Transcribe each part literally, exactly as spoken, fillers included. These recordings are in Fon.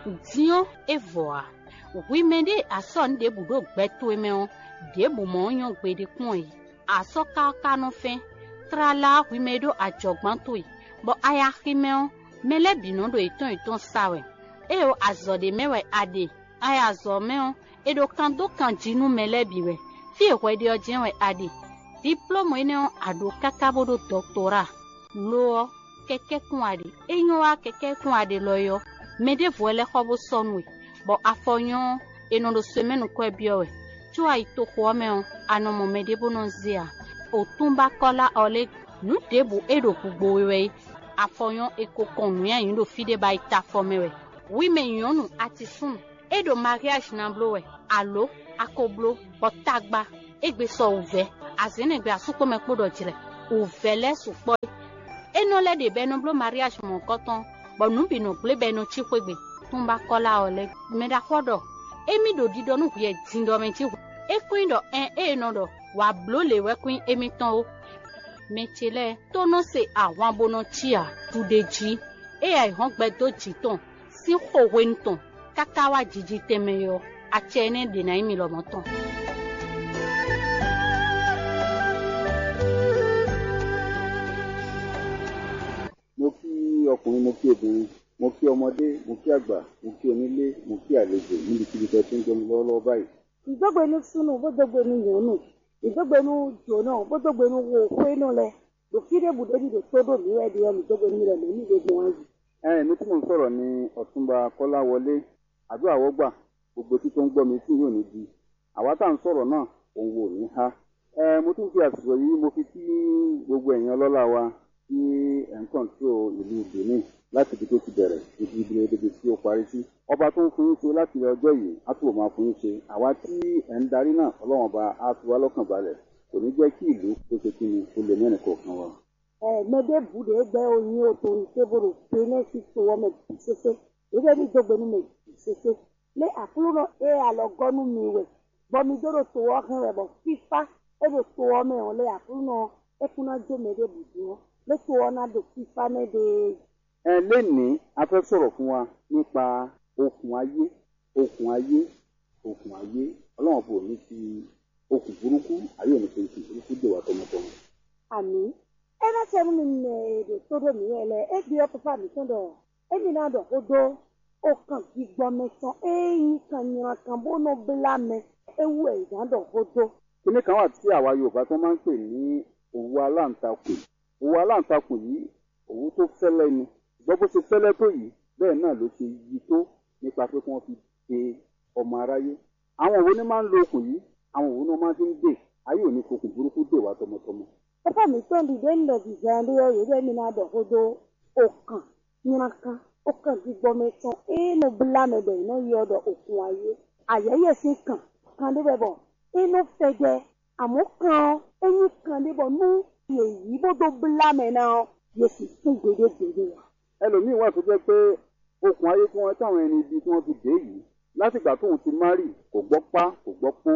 Din ɔ́, é vɔ ǎ. Hwi mɛ ɖě a sɔ́ nǔ ɖěbǔ ɖó gbɛ towe mɛ ɔ́, ɖěbǔ mɔ̌ ɔ́ nyɔ́ gbeɖé kpɔ́n ǎ. A sɔ́ káká nɔ fɛ́n, tlala ɔ́, hwi mɛ e ɖó ajɔ̌gbán towe, bɔ a yi axi mɛ ɔ́, mɛ lɛ́ɛ bǐ nɔ ɖo yětɔn yětɔn sa wɛ. Éeǒ, azɔ̌ ɖé mɛ wɛ a ɖe. A yi azɔ̌ mɛ ɔ́, è ɖo kan dó kan jí nú mɛ lɛ́ɛ bǐ wɛ. Fí e hwɛ ɖe ɔ́ jɛ́n wɛ a ɖe. Diplómu énɛ́ ɔ́, a ɖǒ káká bó ɖó dɔktoráa. Lo ɔ́, kɛkɛ́ kún a ɖe. É nyɔ́ wá kɛkɛ́ kún a ɖe lɔ é ɔ́, mɛ ɖěvo wɛ lɛ́ xɔ bó sɔ́ nú we, bɔ afɔ nyɔ́ ɔ́, è nɔ ɖo semɛ́nu kwɛ́ byɔ́ wɛ. Có a yi toxo ɔ́ mɛ ɔ́, a nɔ mɔ mɛ ɖé bó nɔ́ zé ǎ. Otúnba Kɔ́lá Ɔlé, nǔ ɖěbǔ é ɖo gugbo we wɛ é. Afɔ nyɔ́ è ko kɔn nǔnywɛ́ nyǐ ɖo fí ɖé bɔ a yi ta afɔ mɛ wɛ. Hwi mɛ nyɔ̌nu atisúnu, é ɖo mariáji ná bló wɛ, alǒ a ko bló, bɔ tagba égbé sɔ wǔvɛ́, azǐn nɛgbɛ asúkpɔ́mɛ kpó ɖɔ jlɛ̌, wǔvɛ́ lɛ́ɛ sukpɔ́ é. É nɔ lɛ́ ɖe bɔ è nɔ bló mariáji mɔ̌hunkɔtɔn, bɔ nǔ bǐ nɔ gblé bɔ è nɔ cí xwé gbe. Túnba Kɔ́lá ɔ́ lɛ́ɛ mɛ ɖaxó ɔ́ ɖɔ émí ɖo ɖiɖɔ nú hwiyɛ din ɖɔ mɛ jí hwɛ. É kún nyí ɖɔ ɛn ée è nɔ ɖɔ wǎ bló lě wɛ kún nyí émítɔn ó. Mɛ ce lɛ́ɛ tó nɔ se ahwan bó nɔ cí ǎ ɖuɖe jí. Ée ayǐhɔ́ngbe dó jǐ tɔn sín xo hwenu tɔn káká wá jiji tɛnmɛ ɔ́, acɛ énɛ́ ɖě ná nyí mi lɔmɔ̌ tɔn. Mo kí ọkùnrin, mo kí obìnrin, mo kí ọmọdé, mo kí àgbà, mo kí onílé, mo kí àlejò níbikíbi tẹ́ ẹ tún jọ mi lọ́wọ́lọ́wọ́ báyìí. Ìdógbe nú súnú, bó dógbe nú nyɔ̌nu, ìdógbe nú jǒnɔ, bó dógbe nú xwénɔ lɛ́ɛ, ɖo fí ɖěbǔ ɖé ní ɖo tó ɖó mǐ wɛ ɖe ɔ́, mǐ dógbe nú mi lɛ́ɛ mɔ̌ ní ɖe gbɔn wá yi. Ɛ mi tí mò ń sọ̀rọ̀ ni Ọ̀túnba Kọ́láwọlé, àdúrà wọ́gbà, gbogbo títún gbọ́ mi tí yóò ní di. Àwa tá à ń sọ̀rọ̀ náà, òun wò ní há. Ẹ mo tún fi àsìkò yìí mo fi kí gbogbo ẹ̀yin ọlọ́lá wa tí ẹ̀ ń kọ̀ǹtró ìlú Benin láti ibi tó ti bẹ̀rẹ̀ títí di ibi tó ti parí sí. Ọba tó ń fún yín ṣe láti ọjọ́ yìí á túbọ̀ máa fún yín ṣe. Àwa tí ẹ̀ ń darí náà, Ọlọ́run ọba á fi wá lọ́kàn balẹ̀. Kò ní jẹ́ kí ìlú kó ṣe kí ni kó lè mẹ́rin kọ̀ọ̀kan wa. Ɛ mɛ ɖěbǔ ɖě gbɛ́ o nyi o to nyi tévo ɖo Benɛ́si to ɔ́ mɛ bǐ sésé. Ɖěɖɛ́ ní dó gbe nú mɛ bǐ sésé. Lé Aklúnɔ e alɔ gɔ́ nú mi wɛ, bɔ mi dó ɖo to ɔ́ hɛn wɛ, bɔ fífá e ɖo to ɔ́ mɛ ɔ́, lé Aklúnɔ ɔ́, é kún ná jó mɛ ɖěbǔ dó ɔ́, lé to ɔ́ ná ɖo fífá mɛ ɖe é. Ɛ lě ní a fẹ́ sọ̀rọ̀ fún wa nípa okùn ayé, okùn ayé, okùn ayé. Ọlọ́run kò ní fi okùn burúkú, ayé ò ní fi okùn burúkú dè wá tọmọtọmọ. Àmì. É ná sɛ nú mi mɛ e ɖo tó ɖó mǐ wɛ lɛ́ɛ. É byɔ́ Fífá mǐtɔn ɖɔ émí ná ɖɔ xó dó okan gbígbɔ́ mɛ tɔn e nyí kan nylá kan bó nɔ blá mɛ é wú wɛ è nǎ ɖɔ xó dó. Kíní kan wà tí àwa Yorùbá tɔn máa ń pè ní òwú aláǹtakùn. Òwú aláǹtakùn yìí, òwú tó fẹ́lẹ́ ni. Gbọ́ bó ṣe fẹ́lẹ́ tó yìí, bẹ́ẹ̀ náà ló ṣe yi tó nípa pé kí wọ́n fi de ọmọ aráyé. Àwọn wo ni máa ń lo okùn yìí? Àwọn wo ni wọ́n máa fi ń dè? Ayé ò ní fokùn burúkú dè wá tọmọtọmọ. Xóxó mǐtɔn ɖi ɖě un ɖɔ zǐnzán ɖé ɔ́, yě ɖɔ émí ná ɖɔ xó dó okan nylá kan, okan gbígbɔ́ mɛ tɔn e nɔ blá mɛ bɔ è nɔ ylɔ́ ɖɔ okun ayé. Ayɛyɛ sín kan, kan ɖé wɛ bɔ é nɔ fɛjɛ. Àmɔ́ kan ɔ́, é nyí kan ɖé bɔ nú yě yí bó dó blá mɛ ná ɔ́, yě sixú gbeɖé gbeɖé ǎ. Ẹlòmíì wà tó jẹ́ pé okùn ayé tí wọ́n táwọn ẹni ibi tí wọ́n fi dé yìí, látìgbà tóun ti má rì, kò gbọ́ pá, kò gbọ́ pó,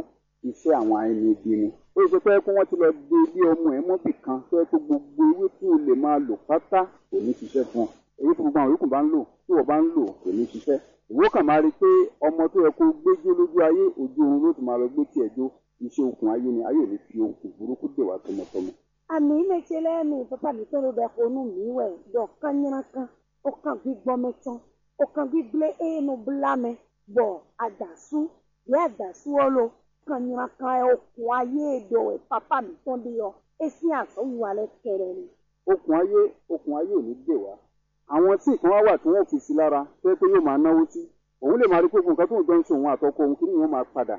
iṣẹ́ àwọn ẹni ibi ni. Ó ṣe pé kó wọ́n ti lọ dé bí ọmọ ẹ̀ mọ́ bì kan tó yẹ kó gbogbo ewé tí o lè máa lò pátá kò ní ṣiṣẹ́ fún ọ. Èyí tí gbogbo àwọn yòókù bá ń lò, tí wọ́n bá ń lò, kò ní ṣiṣẹ́. Ìwọ kàn máa rí i pé ọmọ tó yẹ kó gbé jó lójú ayé, ojú oorun ló ti máa lọ gbé tiẹ̀ jó. Iṣẹ́ okùn ayé ni, ayé ò ní fi okùn burúkú dè wá tọmọtọmọ. Àmì mɛ ce lɛ́ɛ mi, pápá mǐtɔn ɖo ɖɔ xó nú mǐ wɛ ɖɔ kánnyrákan, okan gbígbɔ́ mɛ tɔn, okan gbígblé e nɔ blá mɛ, bɔ adǎsú, ɖě adǎsú ɔ́ lo, kánnyrákan ɛ okùn ayé e ɖɔ wɛ pápá mǐtɔn ɖe ɔ́, é sín azɔ̌wiwa lɛ́ɛ kɛɖɛ́ ni. Okùn ayé, okùn ayé ò ní dè wá. Àwọn tí nǹkan wá wà tí wọ́n fi sí lára, tó yẹ pé yóò máa náwó sí. Òun lè máa rí pé gbogbo nǹkan tó ń jọ ń ṣe òun àtọkọ òun kí nìyẹn máa padà.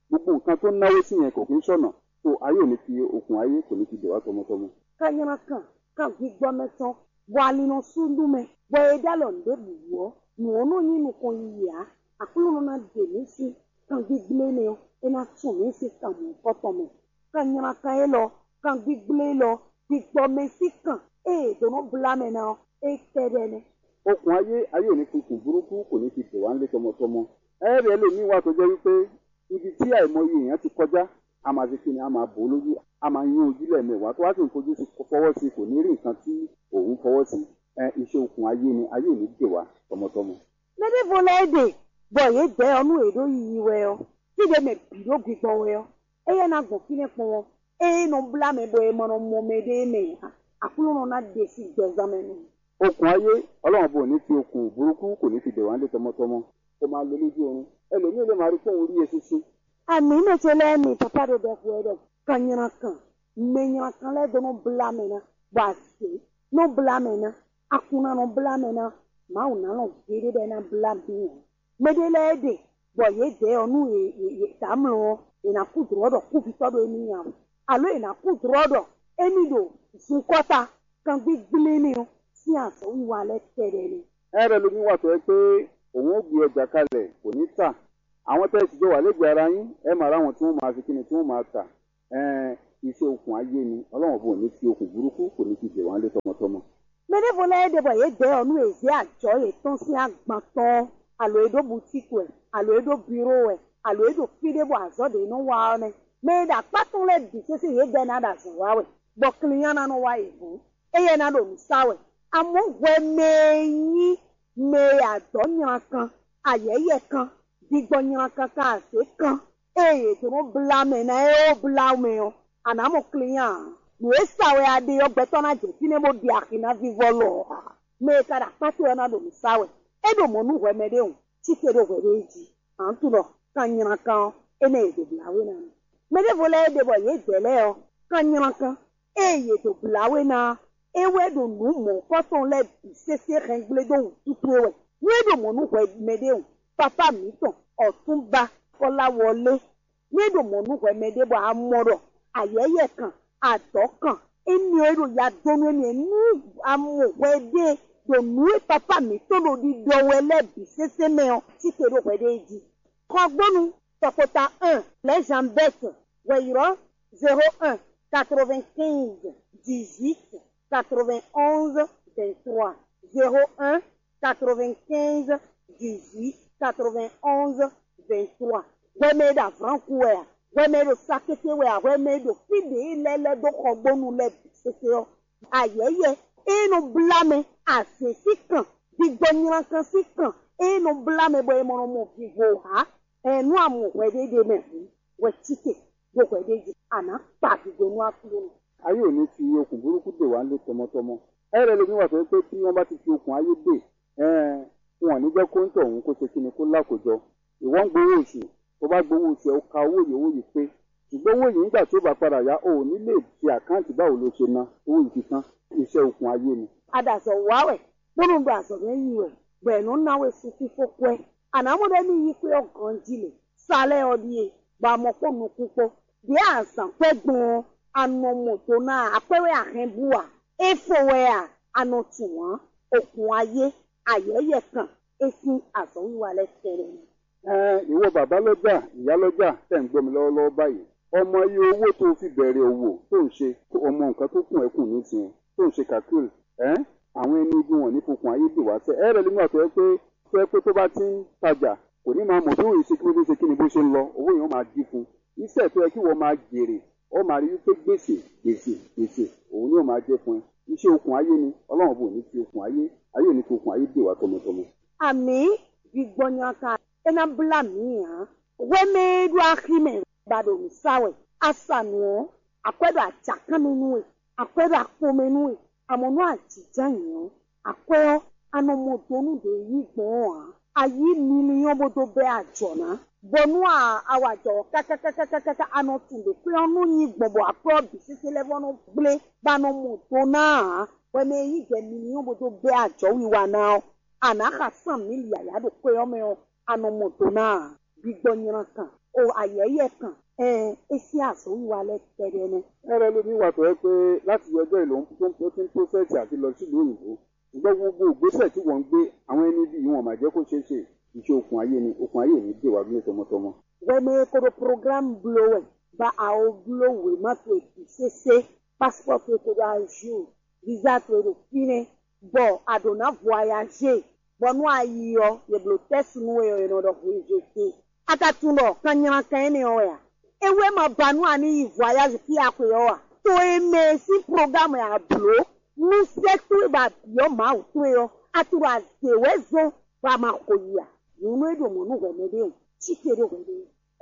Gbogbo nǹkan tó náwó sí yẹn kò kí ń ṣọ̀nà. So ayé ò ní fi okùn ayé kò ní fi dè wá tọmọtọmọ. Kanyrankan, kan gbígbɔ́ mɛ tɔn, bɔ ali nɔ sú nú mɛ, bɔ è ɖó alɔ nǔɖé bǐ wú ɔ́, nǔ ɔ́ nɔ nyí nukɔn yiyi ǎ. Aklúnɔ ná ɖe mǐ sín kan gbígblé énɛ́ ɔ́, é ná tún mǐ sín kan mɔ̌hunkɔtɔn mɛ. Kanyrankan élɔ́, kan gbígblé élɔ́, gbígbɔ́ mɛ sín kan e è dǒ nɔ blá mɛ ná ɔ́, é kɛ́ɖɛ́ nɛ́. Okùn ayé, ayé ò ní fi kùn burúkú, kò ní fi dè wá lé tɔmɔtɔmɔ. Ɛ́ ɖɛ̌ lǒ mì wá tó jẹ́ wípé ibi tí àìmọye èèyàn ti kọjá, a máa ṣe kíni, a máa bò ó lójú, a máa nyún ojú lẹ́ẹ̀mẹwàá, tó wá sì ń fojú sí fọwọ́ sí, kò ní rí nǹkan tí òun fọwọ́ sí. Ẹ iṣẹ́ okùn ayé ni, ayé ò ní dè wá tọmọtọmọ. Mɛ ɖěvo lɛ́ɛ ɖe bɔ yě dɛ̌ ɔ́ nú yě ɖo yiyi wɛ ɔ́, fí ɖé mɛ bǐ ɖo gbigbɔ wɛ ɔ́, éyɛ́ ná gbɔn fínɛ́ kpɔ́n ɔ́, ée nɔ blá mɛ bɔ è ma nɔ mɔ mɛɖé mɛ ǎ. Aklúnɔ ná ɖe sín gbɛzán mɛ nú. Okùn ayé, Ọlọ́run bò ní fi okùn burúkú kò ní fi dè wá lé tɔmɔtɔmɔ. Kò máa lo lójú oorun. Ẹlòmíì lè máa rí kpóhun rí e sísí. Àmì mɛ ce lɛ́ɛ mi papa ɖo ɖɛxu wɛ ɖɔ kan nyla kan, mɛ nyla kan lɛ́ɛ dó nɔ blá mɛ ná, bɔ azě nɔ blá mɛ ná, akun ná nɔ blá mɛ ná, Mawu ná lɔn géɖé bɔ é ná blá mǐ ǎ. Mɛ ɖé lɛ́ɛ ɖe bɔ yě dɛ̌ ɔ́ nú yě tamlɔ ɔ́, è nǎ kú dlɔ̌ ɖɔ kúvitɔ́ ɖo émí nya wɛ, alo è nǎ kú dlɔ̌ ɖɔ émí ɖo zunkɔ́ta kangbígblín n'i ɔ́ sín azɔ̌wiwa lɛ́ɛ kɛɖɛ́ nɛ́. Ɛ ɖɔ nú mì watɔ́ ɛ pé òun ó gbe ɛ jakalɛ kò ní ta. Àwọn tɛ sì jọ wà lẹ́gbẹ̀ẹ́ ara yín, ẹ mà rá wọn tí wọ́n máa fi kíni tí wọ́n máa ta. Ɛn, iṣẹ́ okùn ayé ni, Ọlọ́run bò ní fi okùn burúkú kò ní fi dè wọ́n lé tọmọtọmọ. Mɛ ɖěvo lɛ́ɛ ɖe bɔ yě dɛ̌ ɔ́ nú è zě ajɔ̌ yětɔn sín agban tɔn ɔ́, alo é ɖó butíki wɛ, alo é ɖó biró wɛ, alo é ɖo fí ɖé bɔ azɔ̌ ɖě nɔ wa ɔ́ nɛ́. Mɛ e ɖo akpá tɔn lɛ́ɛ bǐ sésé yě dɛ́ ná ɖo azɔ̌ wa wɛ, bɔ klínyán ná nɔ wá yě hǔn, éyɛ́ ná ɖo nǔ sa wɛ. Amɔ̌ hwɛ mɛ e nyí mɛ e adɔ̌ nyla kan, ayɛ̌yɛ kan, gbigbɔ nyla kan, kan azě kan, ée yě dó nɔ blá mɛ ná é ó blá mɛ ɔ́, a nǎ mɔ klínyán ǎ. Nǔ e sa wɛ a ɖe ɔ́, gbɛtɔ́ ná jɛ fínɛ́ bó ɖi axi ná vívɔ́ lɔ ɔ́ ǎ. Mɛ e ka ɖo akpá towe ɔ́ ná ɖo nǔ sa wɛ. É ɖo mɔ̌ nú hwɛ mɛɖéwǔn, cíte ɖó hwɛɖée jí. Ǎ un tunwun ɖɔ kan nyla kan ɔ́, énɛ́ yě dó blá we ná nú. Mɛ ɖěvo lɛ́ɛ ɖe bɔ yě dɛ̌ lɛ́ɛ ɔ́, kan nyla kan, ée yě dó blá we ná ɔ́, é wɛ ɖo nǔ mɔ̌hunkɔtɔn lɛ́ɛ bǐ sésé hɛngblédó wǔtu towe wɛ. Nú é ɖo mɔ̌ nú hwɛ mɛɖéwǔn, papá mǐtɔn, ɔ̌túnba Kɔ́láwɔlé, nú é ɖo mɔ̌ nú hwɛ mɛɖé bɔ a mɔ ɖɔ ayɛ̌yɛ kan, adɔ̌ kan, énɛ́ ɔ́ é ɖo ya dó nú émí nú a mɔ hwɛ ɖé ɖo nǔ e papá mǐtɔn ɖo ɖiɖɔ wɛ lɛ́ɛ bǐ sésé mɛ ɔ́, cíte ɖó hwɛ ɖé jí. Xɔgbónu tɔkpota un, Lɛ̌zanbɛ́t, hwɛ̌yrɔ́ zéro un, quatre-vingt-quinze, dix-huit, quatre-vingt-onze, vingt-trois, zéro un, quatre-vingt-quinze, dix-huit, quatre-vingt-onze, vingt-trois. Hwɛ mɛ e ɖo avlǎnkú wɛ a? Hwɛ mɛ e ɖo sakété wɛ a? Hwɛ mɛ e ɖo fí ɖě lɛ́ɛ lɛ́ dó xɔgbónu lɛ́ɛ bǐ sésé ɔ́, ayɛ̌yɛ e nɔ blá mɛ, azě sín kan, gbigbɔ nylankan sín kan e nɔ blá mɛ bɔ è mɔ nɔ mɔ vivo ǎ. Ɛn nú a mɔ hwɛ ɖé ɖe mɛ hǔn, hwɛ cíte ɖo hwɛ ɖé jí, a nǎ kpa gǐgbe nú Aklúnɔ. Ayé ò ní fi okùn burúkú dè wá lé tɔmɔtɔmɔ. Ɛ lɛ́ lé mì wá sɔ pé tí wọ́n bá ti fi okùn ayé dè, ɛn wọn ní jẹ́ kó ń tọ̀ òun kó ṣe kíni kó lá kó jọ. Ìwọ ń gbowó oṣù, tó bá gbowó oṣù ẹ, ó ka owó yìí, owó yìí pé. Ṣùgbọ́n owó yìí nígbà tí ó bá padà yá, o ò ní lè ṣe àkáǹtì báwo ló ṣe ná owó yìí fi tán. Iṣẹ́ okùn ayé ni. A ɖo azɔ̌ wa wɛ, bó nɔ ɖo azɔ̌ mɛ yi wɛ, bɔ è nɔ ná we sun fífó kwɛ́. A nǎ mɔ ɖɔ émí yí kwɛ́ ɔ́ ganjí lě, sa lɛ́ɛ ɔ́ ɖíe, bɔ a mɔ kpó nukún kpó. Ɖěe a zǎn kwɛ́ gbɔn ɔ́, a nɔ mɔ do ná a, akwɛ́ wɛ a hɛn bú a? É fo wɛ a? A nɔ tunwun ǎ. Okùn ayé, ayɛ̌yɛ kan, é sín azɔ̌wiwa lɛ́ɛ kɛ́ɖɛ́ nɛ́. Ɛɛn, ìwọ bàbá lɔ́jà, ìyá lɔ́jà, tẹ̀ ń gbọ́ mi lọ́wọ́lọ́wọ́ báyìí. Ọmọ iye owó tó o fi bẹ̀rẹ̀ òwò tó ń ṣe, ọmọ nǹkan tó kún ẹ kù nísìnyẹn, tó ń ṣe calcul, ẹ́, àwọn ẹni ibi wọn ní fokùn ayé dè wá sẹ́. Ẹ rẹ̀ nínú àtọ́ ẹ pé tó ẹ pé tó bá ti ń tajà, kò ní máa mọ̀ bí òun ṣe kí ló dé ṣe kí ni bó ṣe ń lọ, owó yẹn ó máa dín fún un. Iṣẹ́ tó yẹ kí wọ́n máa jèrè, ó máa rí wípé gbèsè, gbèsè, gbèsè, òun ni ó máa jẹ́ fún ẹ. Iṣẹ́ okùn ayé ni, Ọlọ́run bò ní fi okùn ayé, ayé ò ní fi okùn ayé dè wá tọmọtọmọ. Àmì gbígbọ́ nyaka é ná blá mǐ ǎ. Hwɛmɛ e ɖo axi mɛ ba ɖo nǔ sa wɛ. A sa nǔ ɔ́, akwɛ́ ɖo ajǎkan mɛ nú we, akwɛ́ ɖo akpo mɛ nú we, amɔ̌ nú ajǐjǎnyi ɔ́, akwɛ́ ɔ́, a nɔ mɔ do nú ɖě yí gbɔn ɔ́ ǎ. A yí miliyɔn bó dó bɛ́ ajɔ̌ ná, bónú a wa jɔ kákákákákáká a nɔ tunwun ɖě kwɛ́ ɔ́ nɔ nyi gbɔn bɔ akwɛ́ ɔ́ bǐ sésé lɛ́ɛ vɔ́ nɔ gblé, bó a nɔ mɔ do ná ǎ. Hwɛmɛ e yí jɛ miliyɔn bó dó bɛ́ ajɔ̌wiwa ná ɔ́, a nǎ xa sán mǐ yǎyá ɖo kwɛ́ ɔ́ mɛ ɔ́, a nɔ mɔ do ná ǎ. Gbigbɔ nyla kan, o ayɛyɛ kan, ɛn é sín azɔ̌wiwa lɛ́ɛ kɛ́ɖɛ́ nɛ́. Ẹ lɛ́ ló ní wa tɔ̌ ɛ pé láti yí ọjọ́ ìlú tó ń tó ń tó sẹ́ẹ̀tì àti lọ sílùú òyìnbó. Ṣùgbọ́n gbogbo ìgbésẹ̀ tí wọ́n ń gbé, àwọn ẹni bí wọn máa jẹ́ kó ṣeé ṣe. Iṣẹ́ okùn ayé ni, okùn ayé ò ní dè wá gbé tọmọtọmọ. Hwɛmɛ e ko ɖo programme bló wɛ, ba awo bló wěma towe bǐ sésé, passeport towe ko ɖo à jour, visa towe ɖo fínɛ́, bɔ a ɖǒ ná voyager, bɔ nú a yi ɔ́, yě bló tɛ́si nú we ɔ́, è nɔ ɖɔ hweyǐgbe. A ka tunwun ɖɔ kan nyla kan énɛ́ ɔ́ wɛ a? É wɛ ma ba nú a ní yi voyage fí a xwe ɔ́ a? To e mɛ e sín programme a blǒ nú sɛ́ towe ba bǐ ɔ́ Mawu towe ɔ́, a tunwun ɖɔ a zě wɛ zɔ́n Bá má xo yi a? Nyɔ̌nu e ɖo mɔ̌ nú hwɛ̌mɛ ɖé o, cí te ɖó hwɛ ɖé.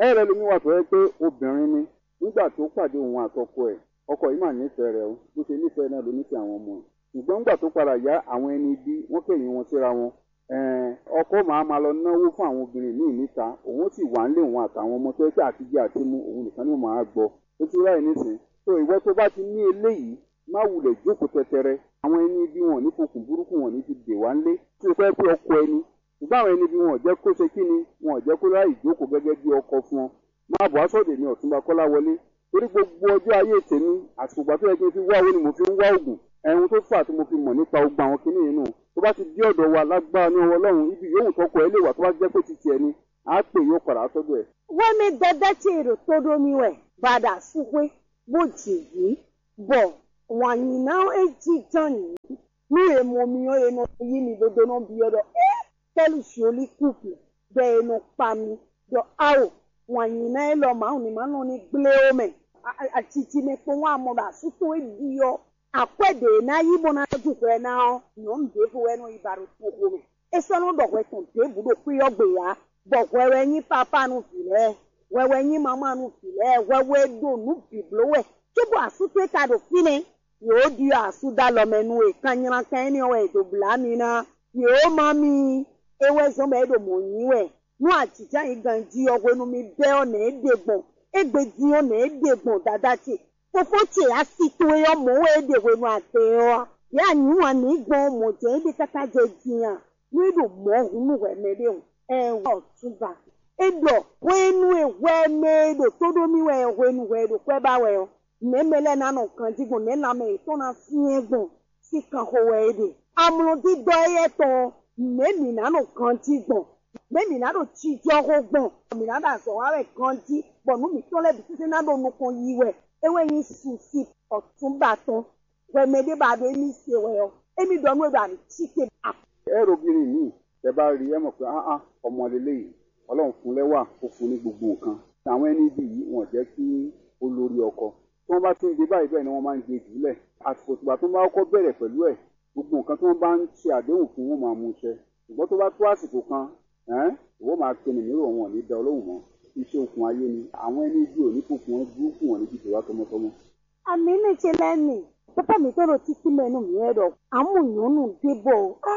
Ɛ lɛ́ ɖo mì wá vɛ̌ pé obìnrin ní nígbà tó pàdé òun àtɔkọ ẹ̀, ọkọ yìí mà nífẹ̀ẹ́ rẹ̀ o, bó ṣe nífẹ̀ẹ́ náà ló nífẹ̀ẹ́ àwọn ọmọ ẹ̀. Ṣùgbọ́n nígbà tó padà yá, àwọn ẹni ibi wọ́n kẹ́yìn wọn síra wọn. Ẹ̀ẹ́n, ọkọ máa ma lọ náwó fún àwọn obìnrin míì níta, òun ó sì wà ń lé òun àtàwọn ọmọ tó yẹ pé àtijọ́ àti mu òun nìkan ni wọ́n máa gbọ́. Ó ti ráyè nísìn. Tó ìwọ tó bá ti ní eléyìí, má wulẹ̀ jókòó tɛtɛrẹ. Àwọn ẹni ibi wọn ò ní fokùn burúkú wọn ò ní fi dè wá ńlé. Tí o fẹ́ pé ọkọ ẹni, ṣùgbọ́n àwọn ẹni ibi wọn ò jẹ́ kó ṣe kí ni, wọn ò jẹ́ kó ráyè jókòó gẹ́gẹ́ bí ọkọ fún ọ. Má bọ̀ á sọ́dọ̀ èmi Ọ̀túnba Kọ́láwọlé, torí gbogbo ọjọ́ ayé tèmi, àsìkò ìgbà tó yẹ kí n fi wá owó ni mo fi ń wá oògùn. Ẹ̀hún tó fà tí mo fi mọ̀ nípa ogun àwọn kinní yìí nù. Tó bá ti dé ọ̀dọ̀ wa lágbára ní ọwọ́ Ọlọ́run, ibi yòówù tọkọ ẹ lè wà tó bá jẹ́ pé ti tiẹ̀ ni, á pè yóò padà sọ́dọ̀ ẹ̀. Wɛmɛ dada ce ɖo tó ɖó mì wɛ, bɔ a ɖo asúxwé, bó jǐ vǐ, bɔ wǎn nyi ná é jínjɔ́n nǐ. Nú è mɔ mi ɔ́, è nɔ yí mi dó dó nɔ byɔ́ ɖɔ: É, quel joli couple! Bɔ è nɔ kpa mi ɖɔ: Ao, wǎn nyi ná élɔ́ Mawu ní ma nɔ ní gblé ó mɛ. Acicimɛ kpowun amɔ ɖo asú tɔn e ɖi ɔ́, akwɛ́ ɖě e ná yí bó ná ju hwɛ ná ɔ́, nyɔ̌nu ɖěvo wɛ nɔ yi ba ɖo toxo mɛ. É sɔ́ nɔ ɖɔ hwɛ tɔn ɖěbǔ ɖo xwé ɔ́ gbe ǎ, bɔ hwɛ wɛ nyí pápá nú vǐ lɛ́ɛ, hwɛ wɛ nyí mamá nú vǐ lɛ́ɛ, hwɛ wɛ ɖo nǔ bǐ bló wɛ, cóbɔ asú towe ka ɖo fínɛ́. Yě ó ɖyɔ́ asú dó alɔ mɛ nú we, kannylankan énɛ́ ɔ́ wɛ è dǒ blá mi ná. Yě ó má mi, é wɛ zɔ́n bɔ é ɖo mɔ̌ nyí wɛ. Nú ajǐjǎn yi ganjí ɔ́, hwenu mi bɛ́ ɔ́, nɛ̌ é ɖe gbɔn? Égbé din ɔ́, nɛ̌ é ɖe gbɔn, dadá ce? Fofó ce asi towe ɔ́ mɔ̌ wɛ é ɖe hwenu adɛ ɔ́ a? Yě anyǔ wǎn n'i gbɔn ɔ́, mɔ̌ jɛ́n é ɖe káká jɛ din a? Nú é ɖo mɔ̌ hun nú hwɛ mɛ ɖé hǔn, ɛɛn, wɛ ɔ̌ tún ba. É ɖɔ hwenu e hwɛ mɛ e ɖo tó ɖó mì wɛ ɔ́, hwenu hwɛ e ɖo kwɛ́ ba wɛ ɔ́, nɛ̌ mɛ lɛ́ɛ ná nɔ ganjí gbɔn, nɛ̌ lanmɛ yětɔn ná syɛ́n gbɔn? Sín kanxo wɛ é ɖe. Amlɔdídɔ́ éyɛ́ tɔn ɔ́, nɛ̌ mǐ ná ɖo ganjí gbɔn? Nɛ̌ mǐ ná ɖo jijɔxo gbɔn? Mǐ ná ɖo azɔ̌ wa wɛ ganjí, bɔ nǔ mǐtɔn lɛ́ɛ bǐ tɛ́ntin ná ɖo nukɔn yi wɛ. É wɛ nyí susi ɔ̌túnba tɔn. Hwɛ mɛ ɖé ba ɖo émí se wɛ ɔ́, émí ɖɔ nú é ɖɔ a nǐ cí te. Ɛ ɖo bírí mǐ, tɛ bá rí ɛ mɔ pé áhán, ọmọ lélẹ́yìí, Ọlọ́run fún lɛ́ wà, ó fún ní gbogbo nǹkan. Àwọn ẹni bí yìí, wọ́n jẹ́ kí ó lórí ọkọ. Tí wọ́n bá ti ń dé báyìí, bẹ́ẹ̀ ni wọ́n máa ń gbé jùlẹ̀. Àsìkò tìgbà tó bá kọ́kọ́ bẹ̀rẹ̀ pẹ̀lú ẹ̀, gbogbo nǹkan tí wọ́n bá ń ṣe àdéhùn fún, wọ́n máa mú ṣẹ. Ṣùgbọ́n tó bá tó àsìkò kan, ẹ́n, ìwọ máa pinnu mí rò, wọn ò ní da olóhùn mọ́. Iṣẹ́ okùn ayé ni. Àwọn ẹni bí ò ní fokùn wọn burúkú, wọn ní dìde wá tọmọtọmọ. Àmì ní ce lɛ́ɛ mi, pápá mǐtɔn ɖo títí mɛ nú mǐ wɛ ɖɔ: Amú nyɔ̌nu ɖé bɔ o. Á,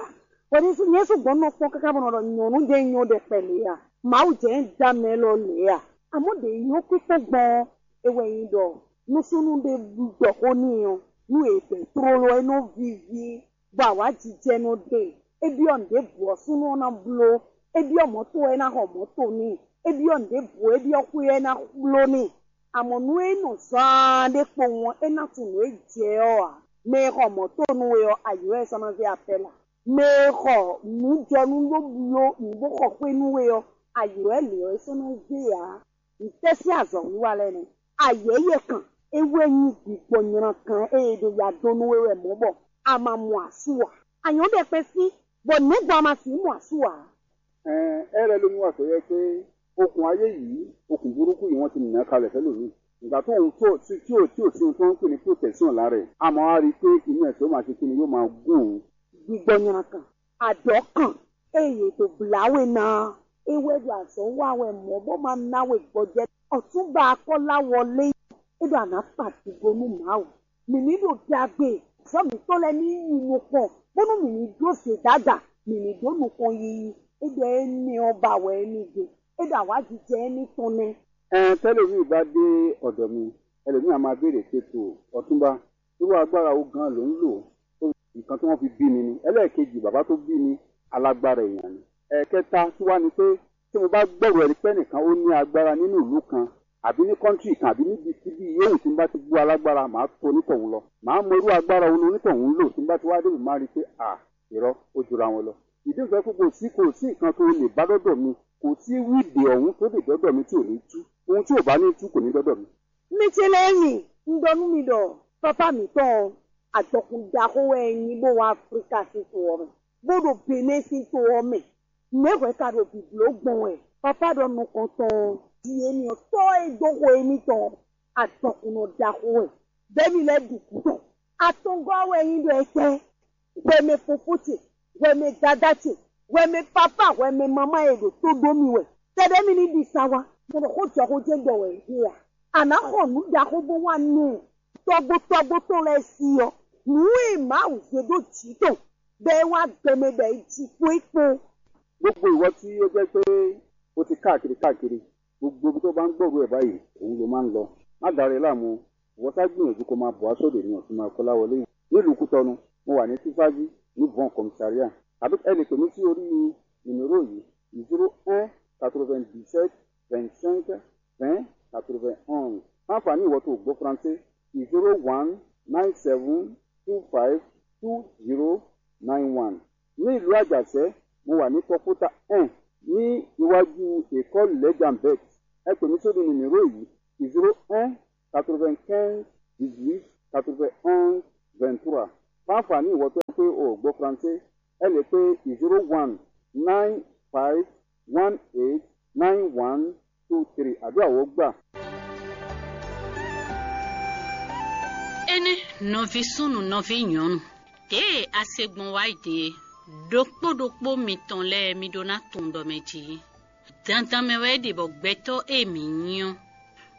bɔ ní nyɛ sɔ́ gbɔn nɔ kpɔ́n káká bɔ nɔ ɖɔ nyɔ̌nu ɖé nyɔ́ ɖɛkpɛ lě a? Mawu jɛ ń da mɛ lɔ lě a? Àmọ́ ɖě nyɔ́ kpíkpɔ́n gbɔn ɔ́, é wɛ nyí ɖɔ nú súnnu ɖé ɖɔ xó n'i ɔ́, nú è bɛ̌ tlóló ɔ́, é nɔ víví, bɔ awǎjijɛ nɔ ɖe. É byɔ́ nǔɖěbǔ ɔ́, súnnu ɔ́ ná bló. É byɔ́ mɔ̌to ɔ́, é ná xɔ mɔ̌to n'i. É byɔ́ nǔɖěbǔ ɔ́, é byɔ́ xwé ɔ́, é ná bló n'i. Amɔ̌ nú é nɔ zaan ɖé kpowun ɔ́, é ná tunwun nǔ e jɛ ɔ́ ǎ. Mɛ e xɔ mɔ̌to nú we ɔ́, ayǐ wɛ é sɔ́ ná zé apɛ́la. Mɛ e xɔ nǔjɔnú bó bló nǔ bó xɔ xwé nú we ɔ́, ayǐ wɛ lě ɔ́ é sɔ́ ná zé ǎ. Nǔtɛ́ sín azɔ̌wiwa lɛ́ɛ nɛ́? Ayɛ̌yɛ kan é wɛ nyí gbǐgbɔ nylankan e è ɖo ya dó nú we wɛ mɔ̌ bɔ a ma mɔ asú ǎ. A nyɔ̌ ɖɛkpɛ sín, bɔ nɛ̌gbɔn a ma sixú mɔ asú ǎ? Ɛɛ, é lɛ́ ɖo nú azɔ̌ yɛ pé okùn ayé yìí, okùn burúkú yìí wọ́n ti nà kalẹ̀ fẹ́ lòmíì. Ìgbà tó ń tó tí tí ò tí ò sí ohun tó ń pè ní protection lára ẹ̀, àmọ́ a rí i pé inú ẹ̀ tó máa ṣe kí ni yóò máa gún òun. Gbígbɔ nylankan, àdɔ̌ kan e yě dó blá we ná ɔ́, é wɛ ɖo azɔ̌ wa wɛ mɔ̌ bó ma ná we gbɔjɛ́. Ọ̀túnba Akɔ́láwọlé, é ɖo àná kpa dǐgbo nú Mawu. Mǐ ní ɖo ɖagbe, azɔ̌ mǐtɔn lɛ́ɛ ní yi nukɔn, bónú mǐ ní ɖó zědáda, mǐ ní ɖó nukɔn yiyi. É ɖɔ énɛ́ ɔ́ ba wɛ é ní gbe. É ɖo awǎjijɛ éní tɔn nɛ́. Ɛn tɛ́ lěví bá dé ọ̀dọ̀ mi, ẹlòmíì á máa béèrè pé to ọ̀túnba, irú agbára wo gan ló ń lò tó nǹkan tí wọ́n fi bí mi ni? Ẹlẹ́ẹ̀kejì, bàbá tó bí mi, alágbára èèyàn ni. Ẹ̀kẹta tí wá ni pé tí mo bá gbọ́rọ̀ ẹni pé nìkan ó ní agbára nínú ìlú kan àbí ní kọ́ńtì kan àbí níbi síbi yóò tí n bá ti gbọ́ alágbára, màá tó onítọ̀hún lọ. Màá mọ irú agbára wo ni onítọ̀hún ń lò tí n bá ti wá débẹ̀, máa rí i pé à, irọ́, ó jura wọn lọ. Ìdí nǹkan pé kò sí kò sí nǹkan tó lè bá dọ́dọ̀ mi, kò sí wíìdì ọ̀hún tó lè dọ́dọ̀ mi tí ò ní tú. Ohun tí ò bá ní tú kò ní dọ́dọ̀ mi. Michelemi, un ɖɔ nú mi ɖɔ pápá mǐtɔn ɔ́, adɔkun ɖaxó wɛ é nyí bó wá Aflíka sín to ɔ́ mɛ, bó ɖo Benɛ́ sín to ɔ́ mɛ. Nɛ̌ hwɛ ka ɖo bǐbló gbɔn wɛ? Pápá ɖɔ nukɔntɔn ɔ́, ɖi énɛ́ ɔ́, tɔ́ e dó xo émítɔn ɔ́, adɔkunnɔ ɖaxó wɛ, bɔ émí lɛ́ɛ ɖu gǔdo. Atɔngɔ́ wɛ nyí ɖɔ étɛ́? Hwɛmɛ fofó ce, hwɛmɛ dadá ce, Hwɛmɛ papa, hwɛmɛ mamá e ɖo tó ɖó mi wɛ. Tɛɖɛ́ mi ní ɖi sa wá. Mɛ ɖo xó jɔ xó jɛ́n ɖɔ wɛ é ɖe a? A nǎ xɔ nǔ ɖaxó bó wá nú tɔ́gbó tɔ́gbó tɔn lɛ́ɛ sí ɔ́. Nǔ e Mawu zé ɖó jǐ tɔn, bɔ é wá gbɛ mɛ bɔ é ji kpó é kpó. Gbogbo ìwọ tí ó jẹ́ pé ó ti káàkiri káàkiri, gbogbo ibi tó bá ń gbòòrò ẹ̀ báyìí, òun ló máa ń lọ. Má da rẹ láàmú, ìwọ sá gbìyànjú kó máa bọ̀ wá sódò ní ọ̀túnmá Kọ́láwọlé yìí. Nílùú Kútọ́nù, mo wà ní Sífájí ní Von Commissariat. Àbí ẹ lè pè mí sí orí nìmérò yìí: zéro un quatre-vingt-dix-sept vingt-cinq vingt quatre-vingt-onze. Fún àǹfààní ìwọ tó gbọ́ Faransé, zéro one nine seven two five two zero nine one. Ní ìlú Àjàṣẹ́, mo wà ní Kɔkúta un ní iwájú école Lẹ́jàmbẹ́t. Ẹ pè mí sórí nìmérò yìí: zéro un quatre-vingt-quinze dix-huit quatre-vingt-onze vingt-trois. Fún àǹfààní ìwọ tó pé o ò gbọ́ Faransé, ẹ lè pé zéro one nine five one eight nine one two three. Àdúrà wó gbà. Énɛ́ nɔví súnnu nɔví nyɔ̌nu, ɖěe a se gbɔn wá yi din é, ɖokpó ɖokpó mitɔn lɛ́ɛ mi ɖó ná tunwun ɖɔ mɛ jí. Dandan mɛ wɛ é ɖe bɔ gbɛtɔ́ e mǐ nyí ɔ́,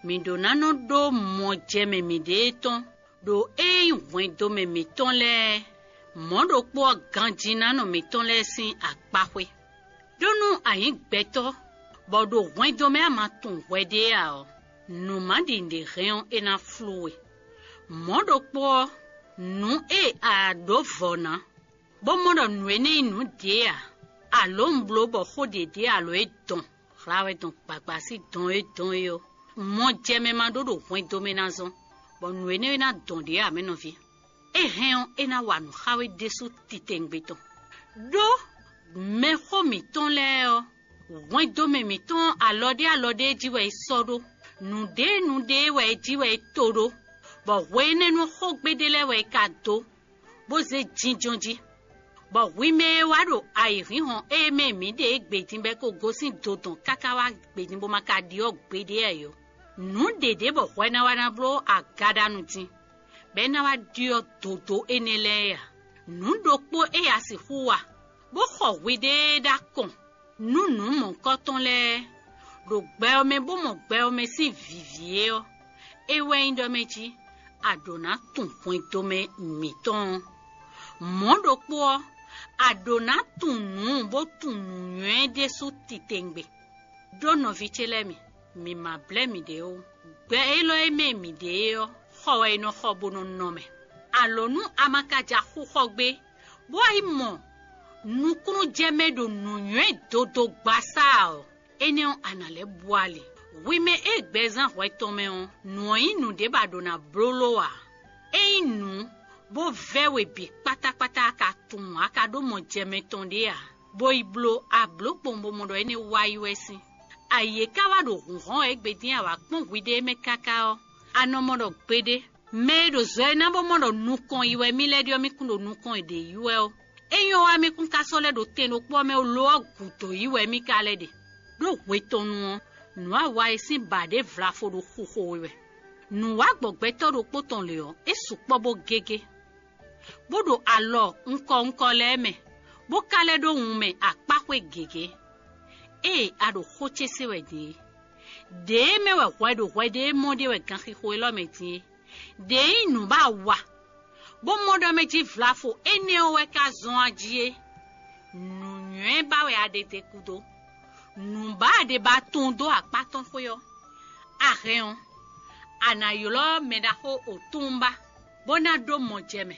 mǐ ɖó ná nɔ ɖó mɔjɛmɛ mǐɖée tɔn ɖo é nyí hwɛndomɛ mǐtɔn lɛ́ɛ, mɔ̌ ɖokpó ɔ́, ganjínánɔ mǐtɔn lɛ́ɛ sín akpáxwé. Ɖó nú a nyǐ gbɛtɔ́, bɔ ɖo hwɛndomɛ a ma tunwun hwɛɖée ǎ ɔ́, nǔ ma ɖi nǔɖé hɛn ɔ́, é ná flú we. Mɔ̌ ɖokpó ɔ́, nǔ e a ɖǒ vɔ̌ ná, bó mɔ ɖɔ nǔ énɛ́ nyí nǔ ɖě ǎ, alǒ un bló bɔ xó ɖě ɖe alǒ e dɔn, hla wɛ dɔn gbagba sín dɔn e dɔn é ɔ́, mɔ jɛ mɛ ma ɖó ɖo hwɛndo mɛ ná zɔn, bɔ nǔ énɛ́ e ná dɔn ɖě ǎ, mɛ nɔví. É hɛn ɔ́, é ná wa nǔ xá we ɖésú titewungbe tɔn. Ɖó mɛxó mǐtɔn lɛ́ɛ ɔ́, hwɛndo mɛ mǐtɔn ɔ́, alɔ ɖé alɔ ɖé jí wɛ é sɔ́ ɖó; nǔɖé nǔɖé wɛ é jí wɛ é to ɖó, bɔ hwe énɛ́ nú xógbe ɖé lɛ́ɛ wɛ é ka dó, bó zé jínjɔ́n jí. Bɔ hwi mɛ e wá ɖo ayǐhínhɔ́n e mɛ mǐ ɖe é gbe din bɔ é ko gosín dodɔn káká wá gbe din bó ma ka ɖyɔ́ gbeɖé ǎ é ɔ́, nǔ ɖě ɖe bɔ hwɛ ná wá ná bló agaɖanu din, bɔ é ná wá ɖyɔ́ dodó énɛ́ lɛ́ɛ ǎ. Nǔ ɖokpó e a sixú wa, bó xɔ hwiɖée ɖó akɔn nú nǔ mɔ̌hunkɔtɔn lɛ́ɛ, ɖo gbɛ ɔ́ mɛ bó mɔ gbɛ ɔ́ mɛ sín vǐví é ɔ́, é wɛ nyí ɖɔ mɛ jí a ɖǒ ná tunwun hwɛndo mɛ mǐtɔn ɔ́. Mɔ̌ ɖokpó ɔ́, a ɖǒ ná tunwun nǔ bó tunwun nǔnywɛ́ ɖésú titewungbe. Ɖó nɔví ce lɛ́ɛ mi, mǐ ma blɛ́ miɖée ó. Gbɛ élɔ́ e mɛ mǐ ɖe é ɔ́, xɔ wɛ è nɔ xɔ bó nɔ nɔ mɛ. Alǒ nú a ma ka ja xú xɔ gbé, bó wá yi mɔ nukúnnú jɛ mɛ ɖo nǔnywɛ́ dodo gbasá ɔ́, énɛ́ ɔ́, a nǎ lɛ́ bú ali. Hwi mɛ e gbɛzán hwɛ tɔn mɛ ɔ́, nǔ ɔ́ nyí nǔɖé bɔ a ɖǒ ná bló ló ǎ. É nyí nǔ bó vɛ́ we bǐ kpátákpátá a ka tunwun a ka ɖó mɔ jɛ mɛ tɔn ɖé ǎ, bó yi bló a blǒ kpowun bó mɔ ɖɔ énɛ́ wá yi wɛ sín. Ayǐ e ka wá ɖo hǔnhɔ́n wɛ égbé dín a wǎ kpɔ́n hwiɖée mɛ káká ɔ́, a nɔ mɔ ɖɔ gbeɖé, mɛ e ɖo zɔ e ná bó mɔ ɖɔ nukɔn yi wɛ mì lɛ́ ɖe ɔ́, mì kún ɖo nukɔn e ɖě yi wɛ ɔ́, é nyɔ́ wá mì kún ka sɔ́ lɛ́ ɖo tɛn ɖokpó ɔ́ mɛ ó, lo ɔ́ gǔdo yi wɛ mì ka lɛ́ ɖe. Ɖó hwe tɔn nu ɔ́, nǔ awa e sín ba ɖě vlafo ɖo xuxo we wɛ. Nǔ wá gbɔ gbɛtɔ́ ɖokpó tɔn lě ɔ́, é sukpɔ́ bó gégé, bó ɖo alɔ ŋkɔ ŋkɔ lɛ́ɛ mɛ, bó ka lɛ́ ɖó wun mɛ akpáxwé gěgé. Ée a ɖo xó ce se wɛ din é, ɖěe mɛ wɛ hwɛ ɖo hwɛ ɖé mɔ ɖe wɛ ganxixo élɔ́ mɛ din é, ɖě nyí nǔ ba wa, bó mɔ ɖɔ mɛ jí vlafo énɛ́ ɔ́ wɛ ka zɔ́n a jí é. Nǔnywɛ́ ba wɛ a ɖe te kúdó. Nǔ ba a ɖe ba tunwun dó akpá tɔn xwé ɔ́, a hɛn ɔ́, a nǎ ylɔ́ mɛ ɖaxó Otúnba, bó ná ɖó mɔ jɛ mɛ,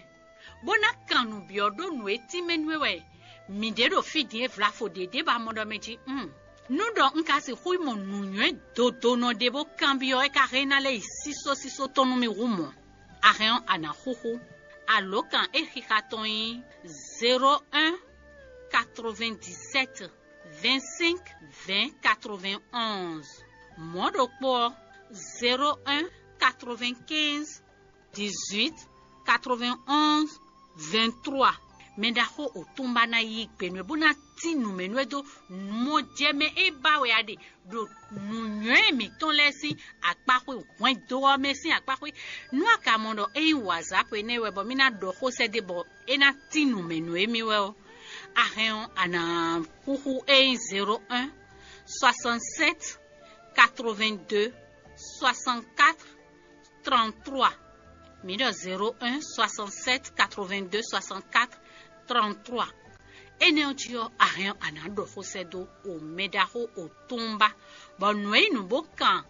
bó ná kan nǔ byɔ́ ɖó nǔ e tínmɛ nú we wɛ mǐ ɖe ɖo fí din é vlafo ɖě ɖě ba mɔ ɖɔ mɛ jí. Un, nú ɖɔ un ka sixú yi mɔ nǔnywɛ́ dodonɔ ɖé bó kanbyɔ́ é ka hɛn ná lɛ́ yi sísósísó tɔn nú mì hú mɔ̌. A hɛn ɔ́, a nǎ xúxú. Alǒkan e xixa tɔn nyí zéro un quatre-vingt-dix-sept vingt-cinq vingt quatre-vingt-onze. Mɔ̌ ɖokpó ɔ́, zéro un quatre-vingt-quinze dix-huit quatre-vingt-onze vingt-trois. Mɛ ɖaxó Otúnba ná yí gbe nú ɛ bó ná tín nǔ mɛ nú ɛ dó mɔjɛmɛ e ba wɛ a ɖe ɖo nǔnywɛ́ mǐtɔn lɛ́ɛ sín akpáxwé hwɛndo ɔ́ mɛ sín akpáxwé. Nú a ka mɔ ɖɔ é nyí wǎzápu énɛ́ wɛ bɔ mì ná ɖɔ xó sɛ́ ɖé bɔ é ná tín nǔ mɛ nú émí wɛ ɔ́, A hɛn ɔ́, a nǎ xúxú é nyí zéro un soixante-sept quatre-vingt-deux soixante-quatre trente-trois. Mi ɖɔ zéro un soixante-sept quatre-vingt-deux soixante-quatre trente-trois. Énɛ́ ɔ́ jí ɔ́, a hɛn ɔ́, a nǎ ɖɔ xó sɛ́ dó o mɛɖaxó o túnba, bɔ nǔ e nyí nǔ bó kan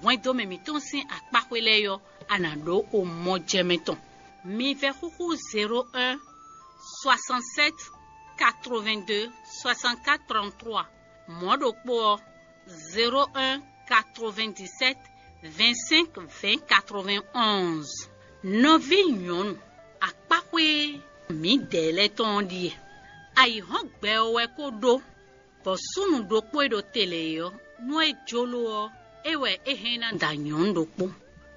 hwɛndo mɛ mǐtɔn sín akpáxwé lɛ́ɛ ɔ́, a nǎ ɖó o mɔ jɛ mɛ tɔn. Mi vɛ́ xúxú zéro un soixante-sept quatre-vingt-deux soixante-quatre trente-trois. Mɔ̌ ɖokpó ɔ́, zéro un quatre-vingt-dix-sept vingt-cinq vingt quatre-vingt-onze. Nɔví nyɔ̌nu, akpáxwé mǐdɛɛ lɛ́ɛ tɔn ɔ́ ɖíe. Ayǐhɔ́ngbe ɔ́ wɛ ko ɖó, bɔ súnnu ɖokpó e ɖo te lě é ɔ́, nú é jló ɔ́, é wɛ é hɛn ná da nyɔ̌nu ɖokpó.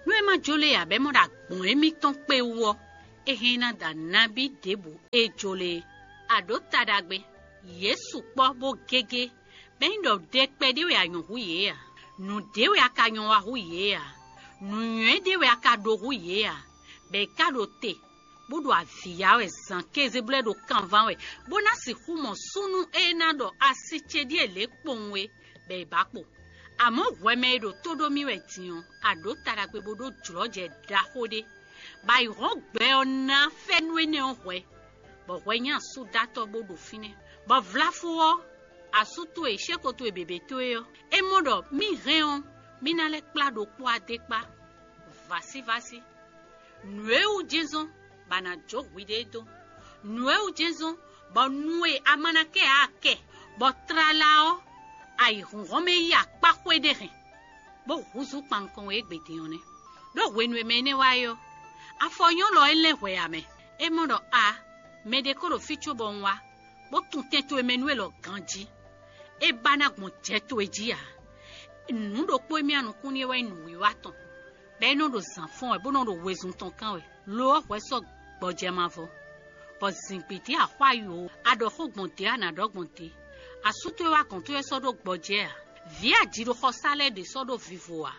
Nú é ma jló e ǎ, bɔ é mɔ ɖɔ agbɔ̌n émítɔn kpé wú ɔ́, é hɛn ná da nabí ɖěbǔ e jló é. A ɖǒ ta ɖagbe, yě sukpɔ́ bó gégé, bɔ é nyí ɖɔ ɖɛkpɛ ɖé wɛ a nyɔ̌ hú yě ǎ, nǔ ɖé wɛ a ka nyɔ́ wa hú yě ǎ, nǔnywɛ́ ɖé wɛ a ka ɖó hú yě ǎ, bɔ è ka ɖo te, bó ɖo avǐ ya wɛ zǎn kéze bó lɛ́ ɖo kanván wɛ, bó ná sixú mɔ súnnu e ná ɖɔ asi ce ɖíe lě kpowun é, bɔ è bǎ kpo. Amɔ̌ hwɛ mɛ e ɖo tó ɖó mì wɛ din ɔ́, a ɖǒ ta ɖagbe bó ɖó jlɔ̌jɛ ɖaxó ɖé, bɔ ayǐhɔ́ngbe ɔ́ ná fɛ́nú énɛ́ ɔ́ hwɛ, bɔ hwɛ nyí asúdatɔ́ bó ɖo fínɛ́, bɔ vlafó ɔ́, asú towe, xéko towe běbé towe ɔ́, é mɔ ɖɔ mì hɛn ɔ́, mì ná lɛ́ kplá ɖokpó adé kpá, vǎsívásí. Nǔ e wú jɛ́nzɔ́n bɔ a nǎ jó hwiɖée dó. Nǔ e wú jɛ́nzɔ́n bɔ nu e a ma ná kɛ ǎ kɛ, bɔ tlala ɔ́, ayǐhúnhɔ́n mɛ yí akpá xwé ɖé hɛn, bó húzú kpan nukɔn we égbé din ɔ́ nɛ́. Ɖó hwenu e mɛ énɛ́ wá é ɔ́, afɔ nyɔ́lɔ é lɛ́n hwɛ ǎ mɛ. É mɔ ɖɔ a, mɛɖé ko ɖo fí cóbɔ un wá, bó tun tɛn towe mɛ nú élɔ́ ganjí. É ba ná gbɔn jɛ towe jí ǎ. Nǔ ɖokpó e mì anukún n'i é wɛ nyí nǔwiwa tɔn, bɔ é nɔ ɖo zǎn fɔ́n wɛ, bó nɔ ɖo wezun tɔn kán wɛ. Lo ɔ́, hwɛ sɔ́ gbɔjɛ mavɔ, bɔ zǐngbídí axwá yo, a ɖɔ xó gbɔn dě, a nǎ ɖɔ gbɔn dě. Asú towe wá gɔ̌n towe sɔ́ ɖó gbɔjɛ ǎ. Vǐ ajiɖoxɔsá lɛ́ɛ ɖě sɔ́ ɖó vivo ǎ,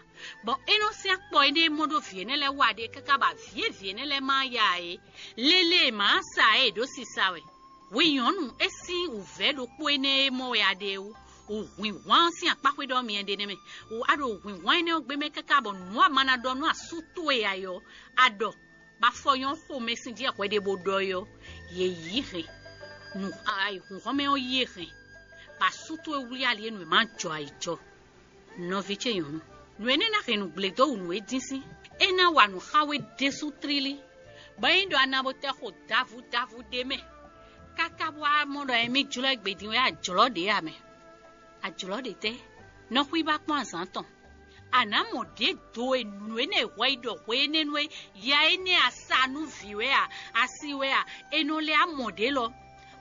bɔ é nɔ sín akpɔ énɛ́ e mɔ ɖó vǐ énɛ́ lɛ́ɛ wa ɖe káká bɔ avǐ e vǐ énɛ́ lɛ́ɛ ma ya ǎ é, lélée e mǎ sa ǎ é ɖó sisa wɛ. Hwi nyɔ̌nu, é sín wǔvɛ́ ɖokpó énɛ́ e mɔ wɛ a ɖe é wú. Wǔhwinhwan ɔ́ sín akpáxwé ɖɔ myɛ ɖe nɛ́ mɛ. Wǔ a ɖo wǔhwinhwan énɛ́ ɔ́ gbé mɛ káká bɔ nǔ a ma ná ɖɔ nú asú towe ǎ é ɔ́, a ɖɔ, bɔ afɔ nyɔ́ xomɛ sín jɛ hwɛɖěbodɔ é ɔ́, yě yí hɛn. Nǔ ayǐhúnhɔ́n mɛ ɔ́ yí e hɛn, bɔ asú towe wlí ali e nǔ e ma jɔ ayǐjɔ. Nɔví ce nyɔ̌nu, nǔ énɛ́ ná hɛn nǔgblé dó wǔ nú é dín sín. É ná wa nǔ xá we ɖésú tlílí, bɔ é nyí ɖɔ a na bo tɛ xo davu davu ɖé mɛ, káká bó wá mɔ ɖɔ émí jlɔ́ égbé din wɛ ajlɔ́ ɖě ǎ mɛ. Ajlɔ́ ɖě tɛ́? Nɔ xwíba kpɔ́n azǎn tɔn. A nǎ mɔ ɖě do e nǔ énɛ́ e hwɛ yi ɖɔ hwe énɛ́ nú é, ya énɛ́ a sa nú vǐ wɛ a, a si wɛ a, è nɔ lɛ́ a mɔ ɖě lɔ,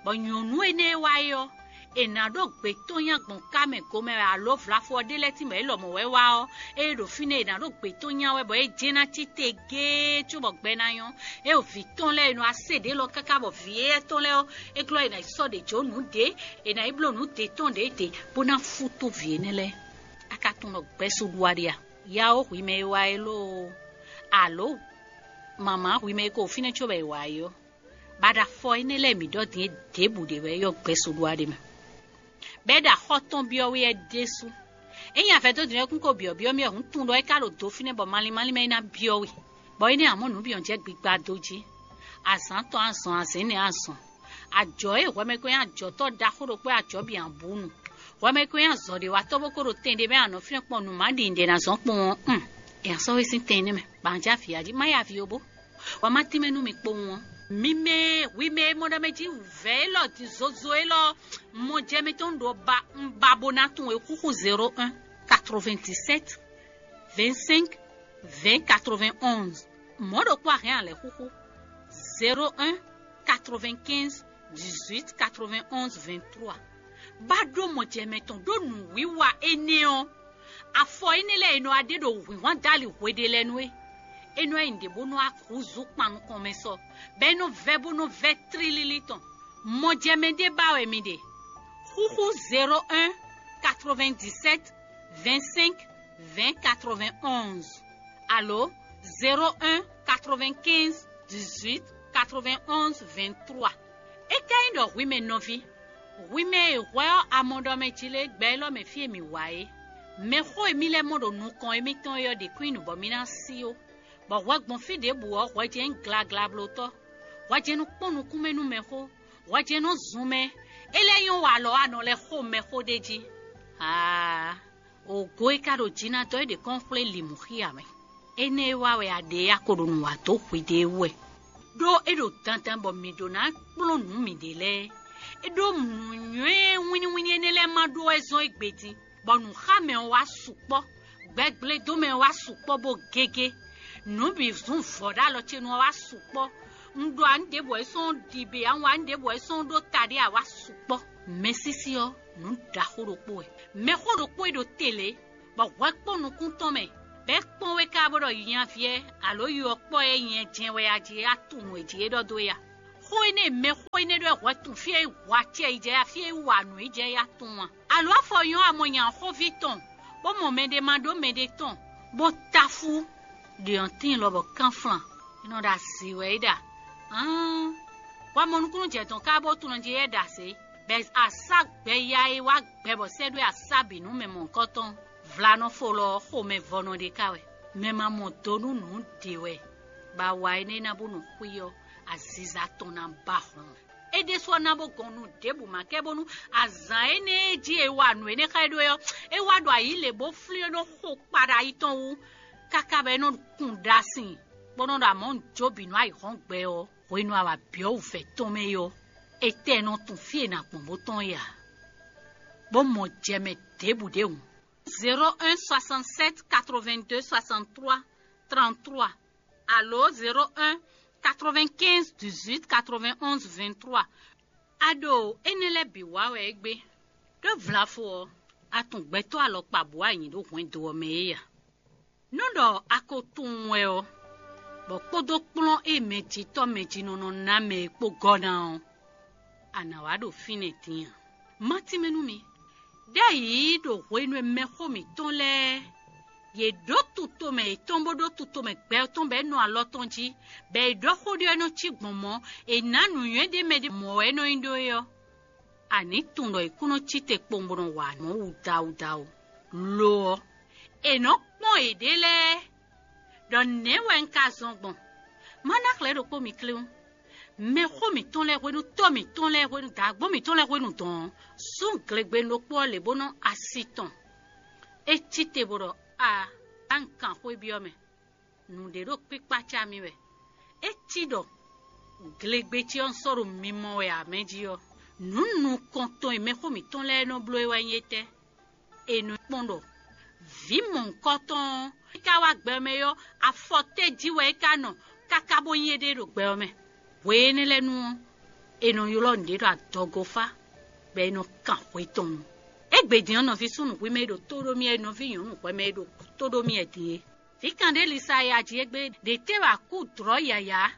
bɔ nyɔ̌nu énɛ́ e wá é ɔ́, è nǎ ɖó gbě tɔn nyi agbɔ̌n ká mɛ gomɛ wɛ, alo vlafɔ ɔ́ ɖé lɛ́ɛ tínbɔ é lɔmɔ̌ wɛ wá ɔ́, ée ɖo fínɛ́ è nǎ ɖó gbě tɔn nya wɛ bɔ é jɛ́n ná cí te géé cóbɔ gbɛ ná nyɔ́. É ɖo vǐ tɔn lɛ́ɛ e nɔ wá se ɖě lɔ káká bɔ vǐ éyɛ́ tɔn lɛ́ɛ ɔ́, é glɔ́ è nǎ yi sɔ́ ɖě jó nǔ ɖě, è nǎ yi bló nǔ ɖě tɔn ɖě ɖě, bó ná fútú vǐ énɛ́ lɛ́ɛ. A ka tunwun ɖɔ gbɛ́ sú ɖu wá ɖe a? Ya ó hwi mɛ e wá é lóo, alo mama hwi mɛ e ko fínɛ́ có bɔ è wǎ é ɔ́, bɔ a ɖo afɔ énɛ́ lɛ́ɛ mǐ ɖɔ din é ɖěbǔ ɖe wɛ é ɔ́ gbɛ́ sú ɖu wá ɖe mɛ. Bɔ é ɖo axɔ́ tɔn byɔ́ wɛ é ɖésú. Ényí a vɛdó din ɔ́ kún ko byɔ̌byɔ́ mì ɔ́, hǔn tunwun ɖɔ é ka ɖo do fínɛ́ bɔ malín malín mɛ é ná byɔ́ we, bɔ énɛ́ ǎ mɔ nǔ bǐ ɔ́ jɛ gbigba dó jí. Azǎn tɔn azɔn, azɛ̌n nɛ́ azɔn. Ajɔ̌ e hwɛmɛkɔn nyí ajɔ̌tɔ́ ɖaxó ɖokpó e ajɔ̌ bǐ ǎ bú nu. Hwɛmɛkɔn nyí azɔ̌ɖewatɔ́ bó ko ɖo tɛn ɖé mɛ anɔ̌ fínɛ́ kpɔ́n nǔ má ɖi nǔɖé ná zɔ́n kpɔ́n ɔ́, un, è nǎ sɔ́ we sín tɛn énɛ́ mɛ, bɔ a jɛ avǐ jí, má ya avǐ ó bó. Wǎ má tínmɛ nú mi kpowun ɔ́. Mi mɛ e hwi mɛ e mɔ ɖɔ mɛ jí wǔvɛ́ élɔ́ din zozo élɔ́ mɔ jɛ mitɔn ɖo ba un ba bó ná tunwun e xúxú zéro un quatre-vingt-dix-sept vingt-cinq vingt quatre-vingt-onze. Mɔ̌ ɖokpó a hɛn a lɛ̌ xúxú zéro un quatre-vingt-quinze dix-huit quatre-vingt-onze vingt-trois. Bá ɖó mɔjɛmɛ tɔn ɖó nǔwiwa énɛ́ ɔ́, afɔ énɛ́ lɛ́ɛ e nɔ wá ɖe ɖo wǐnhwan dali hweɖelɛnu é, é nɔ nyi ɖě bó nɔ wá húzú kpan nukɔn mɛ sɔ, bɔ é nɔ vɛ́ bó nɔ vɛ́ tlílílí tɔn. Mɔjɛmɛ ɖé ba wɛ mi ɖe. Xúxú zéro un quatre-vingt-dix-sept vingt-cinq vingt quatre-vingt-onze, alo zéro un quatre-vingt-quinze dix-huit quatre-vingt-onze vingt-trois. É ka nyí Ɖɔ hwi mɛ nɔví, hwi mɛ e hwɛ ɔ́ amɔɖɔmɛ jí lé gbɛ élɔ́ mɛ fí e mǐ wá é. Mɛxó e mì lɛ́ mɔ ɖo nukɔn émítɔn é ɔ́ ɖě kún nyí nǔ bɔ mì ná sí ó, bɔ hwɛ gbɔn fí ɖěbǔ ɔ́ hwɛ jɛ́n nyí glaglablótɔ́, hwɛ jɛ́n nɔ kpɔ́n nukúnmɛ nú mɛxó, hwɛ jɛ́n nɔ zun mɛ, é lɛ́ nyɔ́ wa alɔ wá nɔ lɛ́ xo mɛxó ɖ'é jí. Aa! Ògo e ka ɖo jǐ ná dɔ́ é ɖě kɔn xwlé limu xí ǎ mɛ. Énɛ́ e wa wɛ a ɖe a ko ɖo nǔ wa dó hwiɖée wú wɛ, ɖó é ɖo dandan bɔ mǐ ɖó ná kplɔ́n nǔ mǐɖée lɛ́ɛ. É ɖó nǔnywɛ́ wínníwínní énɛ́ lɛ́ɛ ma ɖó wɛ zɔ́n égbé din, bɔ nǔxámɛ ɔ́ wá sukpɔ́, gbɛgblédómɛ ɔ́ wá sukpɔ́ bó gégé. Nǔ bǐ zún vɔ̌ ɖó alɔ ce nu ɔ́ wá sukpɔ́. Un ɖo ǎ nǔɖěbǔ wɛ é sɔ́n ɖi bě a un wa nǔɖěbǔ wɛ é sɔ́n ɖó taɖé ǎ wá sukpɔ́. Mɛsísí ɔ́, nǔ ɖaxó ɖokpó wɛ. Mɛxó ɖokpó e ɖo te lě, bɔ hwɛ kpɔ́n nukún tɔn mɛ, bɔ é kpɔ́n wé ká bó ɖɔ nyaví ɛ alo yɔ kpɔ́ ɛ nyɛ jɛ́n wɛ a jí a tunwun nǔ e jí é ɖɔ dó é a? Xó énɛ́ e mɛxó énɛ́ ɖɔ é hwɛ tunwun fí e é hu acɛ yi jɛ ya fí e é wa nǔ yi jɛ ya tunwun a? Alo afɔ nyɔ́ a mɔ nya xóví tɔn, bó mɔ mɛɖé ma ɖó mɛɖé tɔn, bó táfú ɖiɔntín lɔ bɔ kánflan, é nɔ ɖo azǐ wɛ é ɖa. Ǎan, wamɔnukúnnú jɛ tɔn ká bó tunɔ jí é ɖa zě, bɔ asá gbɛ ya e wá gbɛ bɔ sɛ́ ɖó asá bǐ nú mɛ mɔ̌hunkɔtɔn. Vlanɔfo lɔ ɔ́ xomɛ vɔnɔ ɖé ká wɛ. Mɛ ma mɔ do nú nǔ ɖě wɛ, bɔ awa énɛ́ ná bó nɔ xwí ɔ́, aziza tɔn ná ba hlɔn. É ɖésú ɔ́ ná bó gɔn nú ɖěbǔ ma kɛ bónú azǎn énɛ́ e jí è wa nǔ énɛ́ xá ɛ ɖó é ɔ́, é wá ɖo ayǐ lě bó flín é nɔ xo kpaɖayi tɔn wú, káká bɔ é nɔ kun ɖa sin, bó nɔ ɖo amɔ̌ jó bǐ nú ayǐhɔ́ngbe ɔ́, hwenu e a wa byɔ̌ wǔvɛ́ tɔn mɛ é ɔ́, étɛ́ nɔ tunwun fí e è nǎ gbɔn bó tɔ́n é ǎ, bó mɔ jɛ mɛ ɖěbǔ ɖé hǔn. Zéro un soixante-sept quatre-vingt-deux soixante-trois trente-trois alo zéro un quatre-vingt-quinze dix-huit quatre-vingt-onze vingt-trois. A ɖo énɛ́ lɛ́ɛ bǐ wa wɛ égbé, ɖó vlafo ɔ́, a tunwun gbɛtɔ́ alɔkpa bǔ a nyi ɖó hwɛndo ɔ́ mɛ é a? Nú ɖɔ a ko tunwun wɛ ɔ́, bɔ kpódó kplɔ́n e mɛjitɔ́ mɛjinɔnɔ ná mɛ é kpó gɔ́ ná ɔ́, a nǎ wá ɖo fínɛ́ din a? Má tínmɛ nú mi, ɖ'ayǐ ɖo hwenu e mɛxó mǐtɔn lɛ́ɛ yě ɖó tutomɛ yětɔn bó ɖó tutomɛ gbɛ tɔn bɔ é nɔ alɔ tɔn jí, bɔ è ɖɔ xó ɖé ɔ́ é nɔ cí gbɔn mɔ̌, è nǎ nǔnywɛ́ ɖé mɛ ɖé mɔ̌ wɛ é nɔ nyí ɖó é ɔ́, a nǐ tunwun ɖɔ è kún nɔ cí te kpowun bó nɔ wa nǔ wudawudawu. Lo ɔ́, è nɔ́ kpɔ́n yěɖée lɛ́ɛ ɖɔ nɛ̌ wɛ un ka zɔn gbɔn? Má ná xlɛ̌ ɖokpó mi kléwún. Mɛxó mǐtɔn lɛ́ɛ hwenu, tɔ́ mǐtɔn lɛ́ɛ hwenu, dǎgbó mǐtɔn lɛ́ɛ hwenu dɔn ɔ́, sú glegbenu ɖokpó ɔ́ lě bó nɔ́ asi tɔn. É cí te bó ɖɔ: A, a un kan xwé byɔ́ mɛ. Nǔɖé ɖo kpíkpácá mì wɛ. É cí ɖɔ glegbe ce ɔ́ un sɔ́ ɖo mimɔ wɛ ǎ mɛ jí ɔ́, nǔ nukɔntɔn e mɛxó mǐtɔn lɛ́ɛ nɔ bló é wɛ nyí étɛ́? È nɔ kpɔ́n ɖɔ vǐ mɔ̌hunkɔtɔn ɔ́, é ka wá gbɛ mɛ ɔ́, afɔ tɛ́ jí wɛ é ka nɔ káká bó nyí éɖée ɖo gbɛ ɔ́ mɛ. Hwe énɛ́ lɛ́ɛ nu ɔ́, è nɔ ylɔ́ nǔɖé ɖɔ adɔgofá, bɔ è nɔ kan hwe tɔn nu. Égbé din ɔ́, nɔví súnnu hwi mɛ e ɖo tó ɖó mì wɛ, nɔví nyɔ̌nu hwɛ mɛ e ɖo tó ɖó mì wɛ din é. Vǐ kanɖélisa e a ji égbé ɖě tɛ́ wɛ a kú dlɔ̌ yǎyá,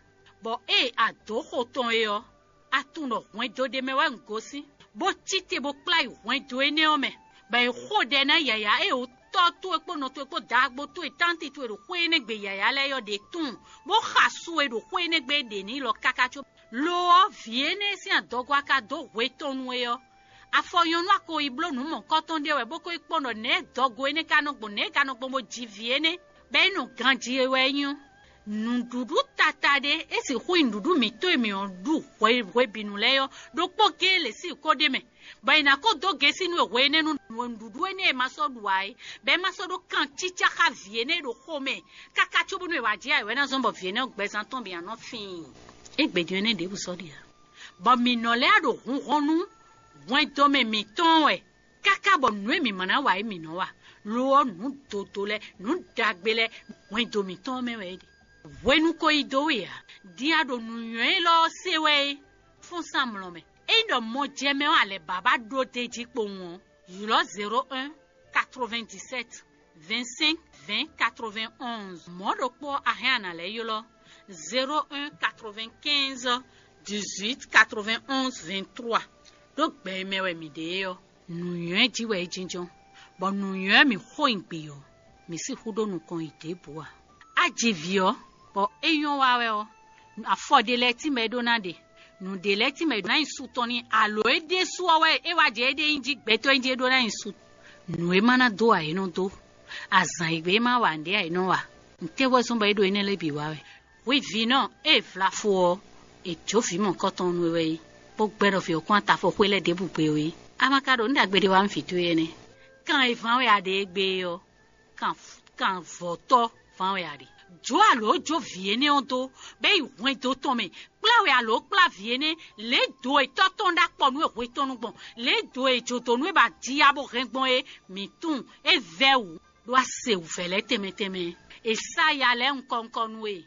bɔ ée a dǒ xo tɔn é ɔ́, a tunwun ɖɔ hwɛndo ɖé mɛ wɛ un gosín, bó cí te bó kplá yi hwɛndo énɛ́ ɔ́ mɛ, bɔ è xo ɖɛ ná yǎyá e wǔtɔ́ towe kpó nɔ towe kpó daagbó towe tánti towe ɖo xwé énɛ́ gbe yǎyá lɛ́ɛ ɔ́ ɖě tunwun, bó xa su e ɖo xwé énɛ́ gbe é ɖe n'i lɔ káká có. Lo ɔ́, vǐ énɛ́ e sín adɔgo a ka dó hwe tɔn nu é ɔ́, afɔ nyɔ̌nu a ko yi bló nǔ mɔ̌kɔtɔn ɖé wɛ bó ko yi kpɔ́n ɖɔ nɛ̌ dɔgo énɛ́ ka nɔ gbɔn, nɛ̌ é ka nɔ gbɔn bó ji vǐ énɛ́, bɔ é nɔ ganjí é wɛ é nyí ɔ́. Nǔɖuɖu tata ɖé é sixú nyí nǔɖuɖu mǐtɔn e mǐ ɔ́ ɖu hwe hwebǐnu lɛ́ɛ ɔ́, ɖokpó géé lě sín kó ɖ'é mɛ, bɔ è nǎ ko dó gěsí nú we hwe énɛ́ nú nǔɖuɖu énɛ́ e ma sɔ́ ɖu ǎ é, bɔ é ma sɔ́ ɖó kan cícá xá vǐ énɛ́ e ɖo xomɛ káká cóbónú è wǎ jɛ ǎ é wɛ ná zɔ́n bɔ vǐ énɛ́ ɔ́ gbɛzán tɔn bǐ ná nɔ fíin. Égbé din énɛ́ ɖěbǔ sɔ́ ɖe ǎ. Bɔ mǐ nɔ lɛ́ ɖo hun hɔn nú hwɛndɔmɛ mǐtɔn wɛ, káká bɔ nǔ e mǐ ma ná wa é mǐ nɔ wa. Lo ɔ́, nǔ dodo lɛ́ɛ, nǔ ɖagbe lɛ́ɛ, hwɛndo mǐtɔn ɔ́ mɛ wɛ é ɖe. Hwenu ko yi dó we ǎ, din a ɖo nǔnywɛ́ élɔ́ ɔ́ se wɛ é, fɔ́n sín amlɔ mɛ. Ényí ɖɔ mɔ jɛ mɛ ɔ́ a lɛ̌ ba bá ɖó d'é jí kpowun ɔ́, ylɔ́ zéro un quatre-vingt-dix-sept vingt-cinq vingt quatre-vingt-onze. Mɔ̌ ɖokpó ɔ́, a hɛn a nǎ lɛ́ ylɔ́ zéro un quatre-vingt-quinze dix-huit quatre-vingt-onze vingt-trois. Ɖó gbɛ e mɛ wɛ mǐ ɖe é ɔ́, nǔnywɛ́ jí wɛ é jínjɔ́n, bɔ nǔnywɛ́ mǐ xo nyi gbǐ ɔ́, mǐ sixú ɖó nukɔn yi ɖěbǔ ǎ. A ji vǐ ɔ́, bɔ é nyɔ́ wa wɛ ɔ́, afɔ ɖé lɛ́ɛ tínmɛ é ɖó ná ɖe. Nǔɖé lɛ́ɛ tínmɛ è ɖǒ ná nyi su tɔn n'i, alo é ɖésú ɔ́ wɛ é wá jɛ éɖée nyi jí gbɛtɔ́ nyi jí é ɖó ná nyi su. Nǔ e ma ná dó ǎ é nɔ dó, azǎn e gbé e ma wa nǔɖé ǎ é nɔ wa. Ntɛ́ wɛ zɔ́n bɔ é ɖo énɛ́ lɛ́ɛ bǐ wa wɛ? Hwi vǐnɔ e è vla fó ɔ́, è jǒ vǐ mɔ̌kɔtɔn nú we wɛ é, bó gbɛ́ ɖɔ vǐ ɔ́ kɔn wá ta fɔ xwé lɛ́ɛ ɖěbǔ gbe ó é. A ma ka ɖo nǔ ɖagbe ɖé wa nú vǐ towe énɛ́? Kan e ván wɛ a ɖe égbé é ɔ́, kan vɔ̌tɔ́ ván wɛ a ɖe. Jǒ alǒ jó vǐ énɛ́ ɔ́ dó, bɔ é yi hwɛndo tɔn mɛ, kplá wɛ alǒ kplá vǐ énɛ́, lě e do e tɔ́ tɔn ɖó akpɔ nú é hwe tɔn nu gbɔn, lě e do e jǒdonu e ba ji ya bó hɛn gbɔn é, mǐ tunwun é vɛ́ wǔ, ɖó a se wǔvɛ́ lɛ́ɛ tɛnmɛ tɛnmɛ. È sá ya lɛ́ɛ nukɔn nukɔn nú we.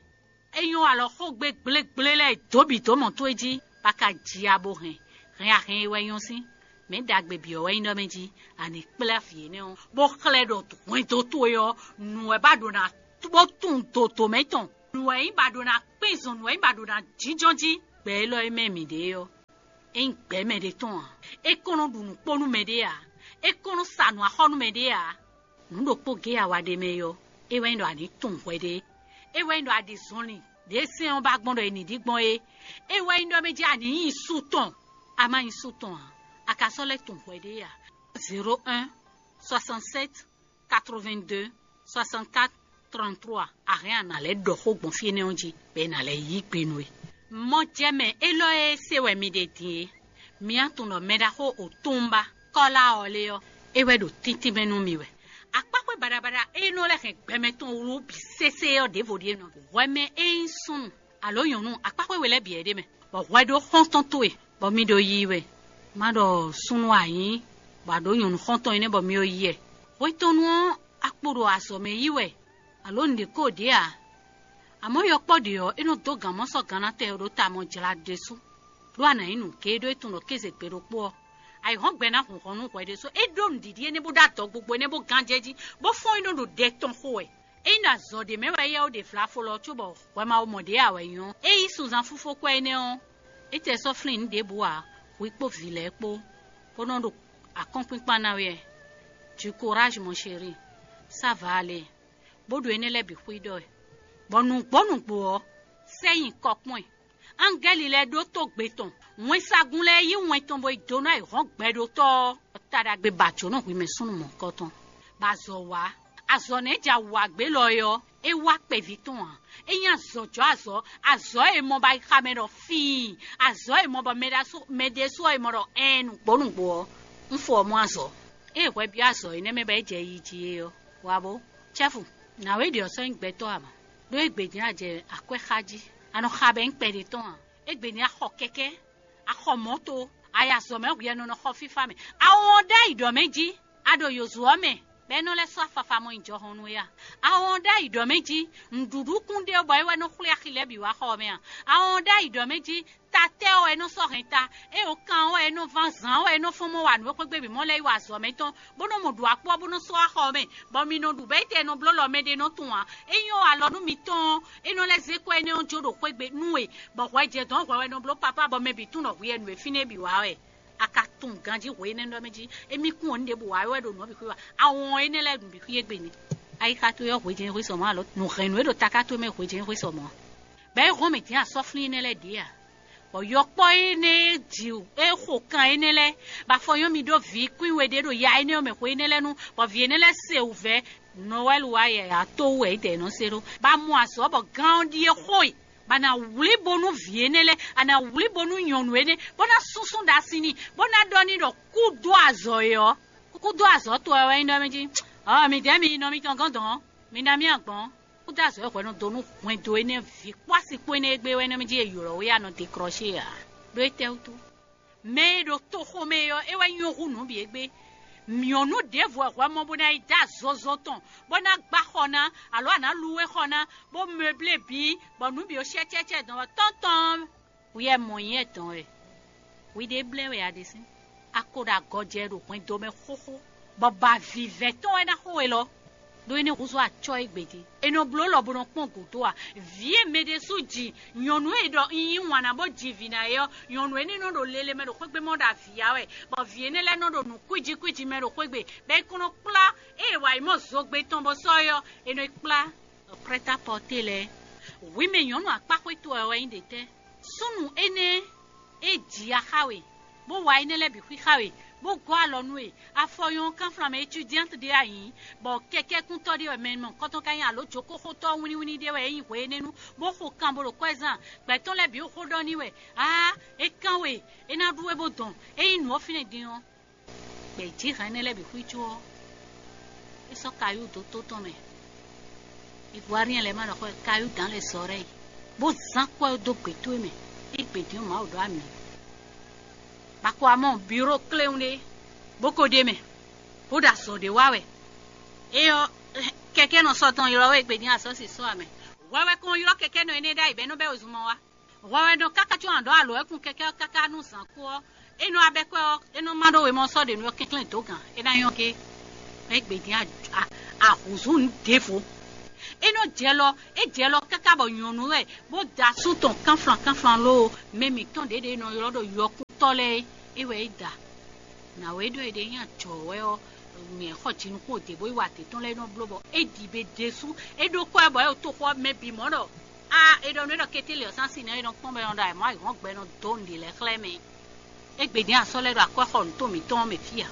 É nyɔ́ alɔ xógbe gblégblé lɛ́ɛ dǒ bǐ dó mɔ towe jí, bó ka ji ya bó hɛn. Hɛn a hɛn e wɛ nyɔ́ sín. Mɛ̌ ɖagbe bǐ ɔ́ wɛ nyí ɖɔ mɛ jí, a nǐ kplá vǐ énɛ́ ɔ́, bó xlɛ́ ɖɔ hwɛndo towe ɔ́, nǔ wɛ ba ɖo ná bó tunwun dodo mɛ tɔn. Nǔ wɛ nyí ba ɖo ná kpín zɔn, nǔ wɛ nyí ba ɖo ná jínjɔ́n jí. Gbɛ élɔ́ e mɛ mǐɖée ɔ́, é nyí gbɛ̌ mɛɖé tɔn ǎ. É kɔn nɔ ɖu nǔ kpó nú mɛɖé ǎ. É kɔn nɔ sa nǔ axɔ́ nú mɛɖé ǎ. Nǔ ɖokpó géé a wa ɖe mɛ é ɔ́, é wɛ nyí ɖɔ a nǐ tunwun hwɛɖée. É wɛ nyí ɖɔ a ɖi zɔnlin ɖě sɛ́n ɔ́ ba gbɔn ɖɔ è nǐ ɖi gbɔn é. É wɛ nyí ɖɔ mɛ jí a nǐ nyi su tɔn, a ma nyí su tɔn ǎ, a ka sɔ́ lɛ́ tunwun hwɛɖée ǎ. Zéro un, soixante-sept, quatre-vingt-deux, soixante-quatre, trente-trois, a hɛn a nǎ lɛ́ ɖɔ xó gbɔn fí énɛ́ ɔ́ jí, bɔ è nǎ lɛ́ yí gbe nú we. Mɔjɛmɛ élɔ́ e se wɛ mi ɖe din é, mi á tunwun ɖɔ mɛ ɖaxó Otunba Kɔ́lá ɔ́ lé ɔ́, é wɛ ɖo tíntín mɛ nú mi wɛ. Akpáxwé baɖabaɖa e nɔ lɛ́ hɛn gbɛmɛ tɔn wlú bǐ sésé ɔ́ ɖěvo ɖíe nɔ. Hwɛ mɛ e nyí súnnu alo nyɔ̌nu akpáxwé we lɛ́ɛ bǐ wɛ ɖ'é mɛ, bɔ hwɛ ɖó xɔ́ntɔn towe, bɔ mi ɖo yiyi wɛ. Má ɖɔ súnnu a nyǐ, bɔ a ɖǒ nyɔ̌nu xɔ́ntɔn énɛ́ bɔ mi ɖo yi wɛ. Hwetɔnnu ɔ́, a kpo ɖo azɔ̌ mɛ yí wɛ, alo nǔɖé ko ɖě ǎ. Amɔ̌ yɔkpɔ́ ɖě ɔ́, é nɔ dó gǎn mɔ sɔ́ gannatɛn e ɖo ta mɔ jlá ɖésú, ɖó a nǎ nyí nǔgéé ɖó é tunwun ɖɔ kéze gbe ɖokpó ɔ́, ayǐhɔ́ngbe ná hun hɔn nú hwɛ ɖésú. É ɖó nǔɖiɖi énɛ́ bó ɖó adɔgbogbo énɛ́ bó gán jɛ jí, bó fɔ́n é nɔ ɖo ɖɛ tɔn xo wɛ. Ényí ɖo azɔ̌ ɖě mɛ wɛ éyɛ́ ó ɖe vlafo lɔ cóbɔ hwɛ ma wo mɔ ɖě ǎ wɛ nyɔ́. É yí sunzan fúfó kwɛ́ énɛ́ ɔ́, é tɛ sɔ́ flín nǔ ɖěbǔ ǎ, hwi kpó vǐ lɛ́ɛ kpó, bó nɔ́ ɖo akɔ́nkpínkpán ná wɛ. Du courage, mon chéri, ça va aller. Bó ɖo énɛ́ lɛ́ɛ bǐ xwí ɖɔ wɛ, bɔ nǔgbó nǔgbó ɔ́, sɛ́ nyi kɔ kpɔ́n ɛ. Angɛ́li lɛ́ɛ ɖótó gbe tɔn, wɛnsagun lɛ́ɛ yí wɛn tɔn bó yi dó ná yi hɔn gbɛɖótɔ́ ɔ́, ta ɖagbe ba jǒnɔ hwi mɛ súnnu mɔ̌hunkɔtɔn, bɔ azɔ̌ wá. Azɔ̌ nɛ́ ja wǎ gbé lɔ é ɔ́, é wá kpɛví tɔn ǎ. É nyí azɔ̌jɔ́ azɔ̌, azɔ̌ e mɔ bɔ ayixa mɛ ɖɔ fíin, azɔ̌ e mɔ bɔ mɛ ɖésú ɔ́ e mɔ ɖɔ ɛɛn nǔgbó nǔgbó ɔ́, un fɔ ɔ́ mɔ azɔ̌. Ée hwɛ byɔ́ azɔ̌ énɛ́ mɛ bɔ é jɛ yi jí é ɔ́, wǎ bó. Cɛ́fu, nǎwe ɖě ɔ́ sɔ́ nyí gbɛtɔ́ ǎ mɔ, ɖó égbé din a jɛ akwɛ́ xa jí, a nɔ xa bɔ é nyí kpɛɖé tɔn ǎ. Égbé din a xɔ kɛkɛ́, a xɔ mɔ̌to, a yi azɔ̌ mɛ hwi e nɔ nɔ xɔ fífá mɛ. A wɔn ɖ'ayǐ ɖɔ mɛ jí, a ɖo yǒzo ɔ́ mɛ, bɔ é nɔ lɛ́ sɔ́ afafa mɔ nyi jɔhɔn nú we a? A wɔn ɖ'ayǐ ɖɔ mɛ jí, nǔɖuɖu kún ɖe bɔ é wɛ nɔ xwlé axi lɛ́ɛ bǐ wá xɔ ɔ́ mɛ a? A wɔn ɖ'ayǐ ɖɔ mɛ jí, tatɛ́ ɔ́ wɛ é nɔ sɔ́ hɛn ta, ée wǒ kan ɔ́ wɛ é nɔ ván zǎn ɔ́ wɛ é nɔ fɔ́n mɔ wa nǔ e xwé gbe bǐ mɔ lɛ́ɛ yi wa azɔ̌ mɛ tɔn, bó nɔ mɔ ɖu akpɔ́ bó nɔ sɔ́ wá xɔ ɔ́ mɛ, bɔ mi nɔ ɖu bɔ étɛ́ nɔ bló lɔ mɛ ɖé nɔ tunwun ǎ. É nyɔ́ alɔ nú mitɔn ɔ́, é nɔ lɛ́ zé kɔ énɛ́ ɔ́ jó ɖo xwé gbe nú we, bɔ hwɛ jɛ dɔ̌n hwɛ wɛ nɔ bló papá bɔ mɛ bǐ tunwun ɖɔ hwi wɛ nǔ e fínɛ́ bǐ wa wɛ. A ka tunwun ganjí hwe énɛ́ ɖɔ mɛ jí, émí kún ɔ́, ní ɖěbǔ wa wɛ ɖo nǔ ɔ́ bǐ xwí wa. A wɔn énɛ́ lɛ́ɛ nǔ bǐ xwí égbé ni. Ayixa towe ɔ́ hwe jɛ́n hwe sɔ mɔ̌ alo nǔ hɛn nǔ e ɖo taká towe mɛ hwe jɛ́n hwe sɔ mɔ̌. Bɔ é hɔn mɛ din asɔ́flín énɛ́ lɛ́ɛ ɖě a? Bɔ yɔkpɔ́ énɛ́ e ji e xo kan énɛ́ lɛ́ɛ, bɔ afɔ nyɔ́ mi ɖó vǐ kwín we ɖé ɖo ya énɛ́ ɔ́ mɛ xwe énɛ́ lɛ́ɛ nu, bɔ vǐ énɛ́ lɛ́ɛ se wǔvɛ́. Nɔwɛ́lu wá yɛ a tó wú wɛ é dɛ nɔ se ɖó. Bɔ a mɔ azɔ̌ bɔ gán ɔ́ ɖíe xo e, bɔ a nǎ wlí bónú vǐ énɛ́ lɛ́ɛ, a nǎ wlí bónú nyɔ̌nu énɛ́, bó ná súnsún ɖo asi n'i, bó ná ɖɔ n'i ɖɔ kú dó azɔ̌ e ɔ́, kú dó azɔ̌ towe wɛ nyí ɖɔ mɛ jí. Ɔ́, midɛɛ mi yi nɔ mitɔn gɔ́n dɔn, mi ná mì agbɔ̌n. Kú dó azɔ̌ e hwɛ nɔ dó nú hwɛndo énɛ́ ví kpó asi kpó énɛ́ e gbé wɛ nɔ mɛ jí e ylɔ̌ we a nɔ dekrɔ́she ǎ. Ɖó étɛ́wútu? Mɛ e ɖo toxo mɛ é ɔ́, é wɛ nyɔ́ hú nǔ bǐ égbé. Nyɔ̌nu ɖěvo wɛ hwɛ mɔ bó ná yi dó azɔzɔ tɔn, bó ná gbá xɔ ná, alo a nǎ lu we xɔ ná, bó mɛblé bǐ, bɔ nǔ bǐ ó shɛ́cɛ́cɛ́ dɔn wɛ tɔ́ntɔn. Hwi wɛ mɔ nyɛ dɔn wɛ. Hwi ɖé blɛ́ wɛ a ɖe sín. A ko ɖo agɔjɛ ɖo hwɛndo mɛ xóxó, bɔ ba vǐvɛ́ tɔn wɛ ná xo we lɔ. Ɖó é ní húzú acɔ́ égbé din. È nɔ bló lɔ bó nɔ kpɔ́n gǔdo a? Vǐ e mɛ ɖésú ji, nyɔ̌nu e ɖɔ un yí wǎn ná bó ji vǐ ná é ɔ́, nyɔ̌nu énɛ́ nɔ ɖo lele mɛ ɖo xwé gbe mɔ ɖo avǐ ya wɛ, bɔ vǐ énɛ́ lɛ́ɛ nɔ ɖo nǔ kwíji kwíji mɛ ɖo xwé gbe, bɔ é kɔn nɔ kplá ée è wa yi mɔ zogbe tɔn bó sɔ́ é ɔ́, è nɔ yi kplá. Prêt-à-porter lɛ́ɛ. Hwi mɛ nyɔ̌nu akpáxwé towe wɛ nyí ɖětɛ́? Súnnu énɛ́ É jǐ ya xá we, bó wa énɛ́ lɛ́ɛ bǐ xwíxá we, bó gɔ́ alɔ nú we. Afɔ nyɔ́ kánflán mɛ étudiante ɖé wɛ a nyǐ, bɔ kɛkɛ́kúntɔ́ ɖé wɛ mɛ mɔ̌hunkɔtɔn ka nyí, alǒ jokóxótɔ́ wínníwínní ɖé wɛ é nyí hwe énɛ́ nu, bó xo kan bo ɖo kwɛ́ zán. Gbɛ̌ tɔn lɛ́ɛ bǐ xó ɖɔ n'i wɛ: Aa, é kán we, é ná ɖú we bó dɔn. É nyí nǔ ɔ́ fínɛ́ din ɔ́, gbɛ̌ jǐ hɛn énɛ́ lɛ́ɛ bǐ xwícú ɔ́, é sɔ́ kayú dó tó tɔn mɛ. Ivoirien lɛ́ɛ ma ɖɔ xɔ kayú dǎn lɛ́ɛ sɔ ɖɛ́ yi, bó zán kwɛ́ ɔ́ dó gbě towe mɛ, é gbě din ɔ́ Mawu ɖó ami. Bako amɔ biro kléwún ɖé, bó ko ɖ'é mɛ, bó ɖo azɔ̌ ɖé wa wɛ. É ɔ́, kɛkɛ́nɔ sɔ tɔn ylɔ́ wɛ é gbě din asɔ́ si sɔ́ amɛ. Hwɛ wɛ kɔn ylɔ́ kɛkɛ́nɔ énɛ́ ɖ'ayǐ bɔ é nɔ bɛ́ wezun mɔ wá. Hwɛ wɛ nɔ káká có a ɖǒ alɔ ɔ́ kún kɛkɛ́ ɔ́ káká nú zǎn kú ɔ́, é nɔ wá bɛ́ kwɛ́ ɔ́, é nɔ má ɖó wemɔ sɔ́ ɖě nú ɔ́ kɛnklɛ́n dǒ gǎn, é ná nyɔ́ gé. Mɛ gbě din ahǔzú nǔ ɖěvo. É nɔ jɛ lɔ, é jɛ lɔ káká bɔ nyɔ̌nu wɛ, bó da asú tɔn kánflan kánflan lóo, mɛ mǐtɔn ɖě ɖě nɔ ylɔ́ ɖɔ yɔkúntɔ́ lɛ́ɛ é, é wɛ é da. Nǎwe ɖɔ è ɖe nyi ajɔ̌ wɛ ɔ́, mɛ xɔ jinukún òde bó yi wa adě tɔn lɛ́ɛ nɔ bló bɔ é ɖi be ɖésú, é ɖó kɔ́ ɛ bɔ é ɖo toxo ɔ́ mɛ bǐ mɔ ɖɔ: Aa, è ɖɔ nú é ɖɔ kété lě ɔ́ sín asi nɛ́ é nɔ kpɔ́n bɔ é nɔ ɖo ayǐmɔ ayǐhɔ́ngbe nɔ dó nǔɖé lɛ́ɛ xlɛ́ mɛ. Égbé din asɔ́ lɛ́ɛ ɖo akwɛ́xɔnú tɔn mǐtɔn ɔ́ mɛ fí ǎ,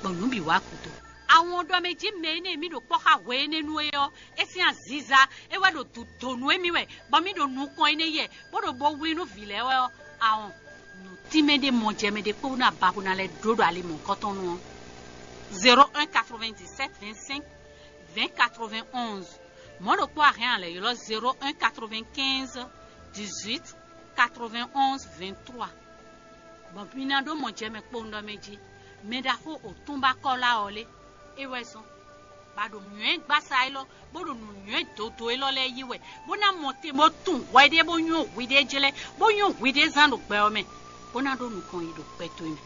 bɔ nǔ bǐ wá gúdo. Awɔn ɖɔ mɛ jí mɛ énɛ́ e mì ɖo kpɔ́ xá hwe énɛ́ nú é ɔ́, é sín aziza é wɛ ɖo dǔ dǒ nú émí wɛ, bɔ mì ɖo nukɔn énɛ́ yɛ, bó ɖo bo wlí nú vǐ lɛ́ɛ wɛ ɔ́, awɔn nǔ tínmɛ ɖé mɔ jɛ mɛ ɖé kpó ná ba bó ná lɛ́ ɖó ɖo ali mɔ̌hunkɔtɔn nu ɔ́. Zéro un quatre-vingt-dix-sept vingt-cinq vingt quatre-vingt-onze. Mɔ̌ ɖokpó a hɛn a lɛ̌ ylɔ́ zéro un quatre-vingt-quinze dix-huit quatre-vingt-onze vingt-trois. Bɔ mi ná ɖó mɔ jɛ mɛ kpowun ɖɔ mɛ jí. Mɛ ɖaxó òtúnba Kɔ́la ɔ́ lé, é wɛ zɔ́n, bɔ a ɖo nǔnywɛ́ gbasa élɔ́, bó ɖo nǔnywɛ́ dodó élɔ́ lɛ́ɛ yí wɛ, bó ná mɔ te bó tunwun hwɛ ɖé bó nywɔ́ hwi ɖé jlɛ́, bó nywɔ́ hwi ɖé zán ɖo gbɛ ɔ́ mɛ, bó ná ɖó nukɔn yi ɖo gbɛ towe mɛ.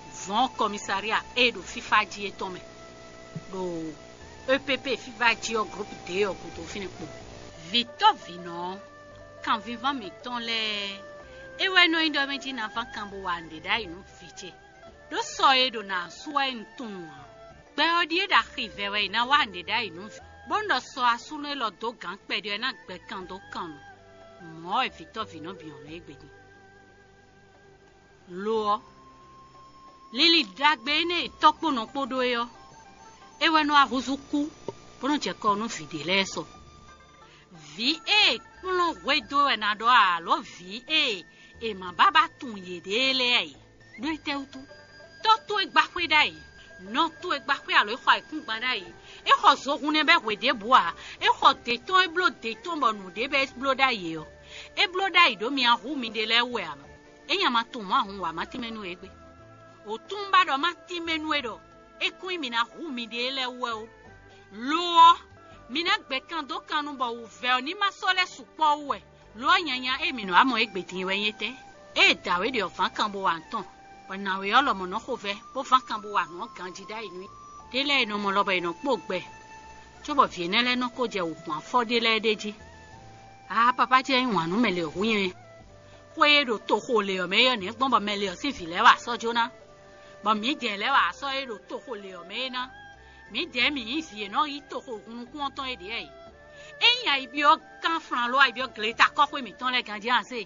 Vɔ̌n kɔmisaria e ɖo fífá jí é tɔn mɛ, ɖo E P P fífá jí ɔ́ groupe dě ɔ́ gúdo fínɛ́ kpo. Vǐtɔ́vǐnɔ ɔ́, kanvínván mǐtɔn lɛ́ɛ, é wɛ nɔ nyí ɖɔ mɛ jí ná ván kan bó wa nǔɖé ɖ'ayǐ nú vǐ ce. Ɖó sɔ e ɖo nǎ sú wɛ un tunwun ǎ. Gbɛ ɔ́ ɖíe ɖo axi vɛ wɛ è nǎ wa nǔɖé ɖ'ayǐ nú vǐ, bónú ɖɔ sɔ asúnɔ élɔ́ dó gǎn kpɛɖé ɔ́ ná gbɛ kan dó kan nu. Mɔ̌ wɛ vǐtɔ́vǐnɔ bǐ ɔ́ nɔ é gbe din. Lo ɔ́, linlin ɖagbe énɛ́ e tɔ́ kpó nɔ kpó ɖó é ɔ́, é wɛ nɔ wá húzú kú, bó nɔ́ jɛ kɔ nú vǐ ɖé lɛ́ɛ sɔ. Vǐ e è kplɔ́n hwedó wɛ ná ɖɔ alǒ vǐ e è ma bá ba tunwun yěɖée lɛ́ɛ ǎ. Ɖó étɛ́wútu? Tɔ́ towe gbá xwé ɖ'ayǐ, nɔ towe gbá xwé alǒ é xɔ ayǐkúngban ɖ'ayǐ. É xɔ zohun nɛ́ bɛ́ hwe ɖěbǔ ǎ. É xɔ dě tɔn é bló dě tɔn bɔ nǔɖé bɛ́ é bló ɖ'ayǐ ɔ́, é bló ɖ'ayǐ ɖó mi ná hu miɖée lɛ́ɛ wú wɛ ǎ. Ényí a ma tunwun mɔ̌ a hun wǎ ma tínmɛ nú égbé. Wǒtúnba ɖɔ má tínmɛ nú é ɖɔ é kún nyí mǐ ná hu miɖée lɛ́ɛ wú wɛ ó. Lo ɔ́, mi ná gbɛ kan dó kan nu bɔ wǔvɛ́ ɔ́ ní ma sɔ́ lɛ́ sukpɔ́ wú wɛ. Lo ɔ́, nyanya e mǐ nɔ wá mɔ égbé din wɛ nyí étɛ́? Ée dǎwe ɖě ɔ́ ván kan bó wa nǔ tɔn, bɔ nǎwe ɔ́ lɔmɔ̌ nɔ xo vɛ́, bó ván kan bó wa nǔ ɔ́ ganjí ɖ'ayǐ nú i. Ɖé lɛ́ɛ è nɔ mɔ lɔ bɔ è nɔ kpó gbɛ, cóbɔ vǐ énɛ́ lɛ́ɛ nɔ ko jɛ wǔ gbɔn afɔ ɖé lɛ́ɛ ɖ'é jí. Aa, papá ce nyí wǎn nú mɛ lě hú nyɛ. Xwé e ɖo toxo lě ɔ́ mɛ é ɔ́ nɛ̌ gbɔn bɔ mɛ lě ɔ́ sín vǐ lɛ́ɛ wa sɔ́ jó ná, bɔ mǐdɛɛ lɛ́ɛ wa sɔ́ e ɖo toxo lě ɔ́ mɛ é ná? Mǐdɛɛ mǐ nyí vǐ e nɔ yí toxo hun nukún ɔ́ tɔn é ɖě wɛ. Ényí ayi byɔ́ kánflán ló ayi byɔ́ gleta kɔ́xwé mǐtɔn lɛ́ɛ ganjí a se?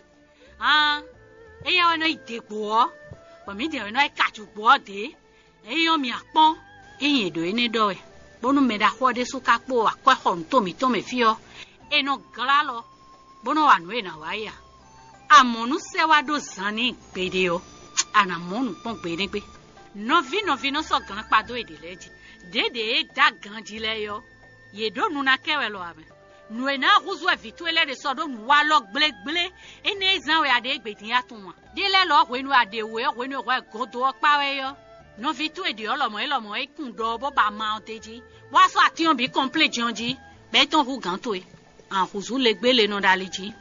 Haan, éyɛ́ wɛ nɔ yi dě gbo ɔ́, bɔ mǐdɛɛ wɛ nɔ yi ka jǔgbó ɔ́ dě. Ényí ɔ́, mǐ a kpɔ́n, ényí è ɖǒ énɛ́ ɖɔ wɛ, bónú mɛ ɖaxó ɔ́ ɖésú ka kpó akwɛ́ xɔ nǔ tɔn mǐtɔn mɛ fí ɔ́, è nɔ glá alɔ, bó nɔ́ wa nǔ e è nǎ wa é a? Amɔ̌ nú sɛ́ wá ɖó zan n'i gbeɖé ɔ́, a nǎ mɔ nǔ kpɔ́n gbe énɛ́ gbe. Nɔví nɔví nɔ sɔ́ gǎn kpa dó yěɖée lɛ́ɛ jí. Ɖěɖě e dó aganjí lɛ́ɛ é ɔ́, yě ɖó nu ná kɛ wɛ lɔ ǎ mɛ. Nǔ e ná húzú wɛ vǐ towe lɛ́ɛ ɖe sɔ́ ɖó nǔ wa lɔ gblégblé énɛ́ e zán wɛ a ɖe égbé din a tunwun a? Ɖé lɛ́ɛ lɔ ɔ́, hwenu e a ɖe wǔ é, hwenu e hwɛ godo ɔ́ kpá wɛ é ɔ́, nɔví towe ɖě ɔ́ lɔmɔ̌ é lɔmɔ̌ é kun ɖɔ ɔ́ bó ba ma ɔ́ d'é jí, bó wá sɔ́ atín ɔ́ bǐ kɔnplé jɛ́n ɔ́ jí, bɔ é tɔ́n hú gǎn towe. Ahǔzú legbé le nɔ ɖo ali jí,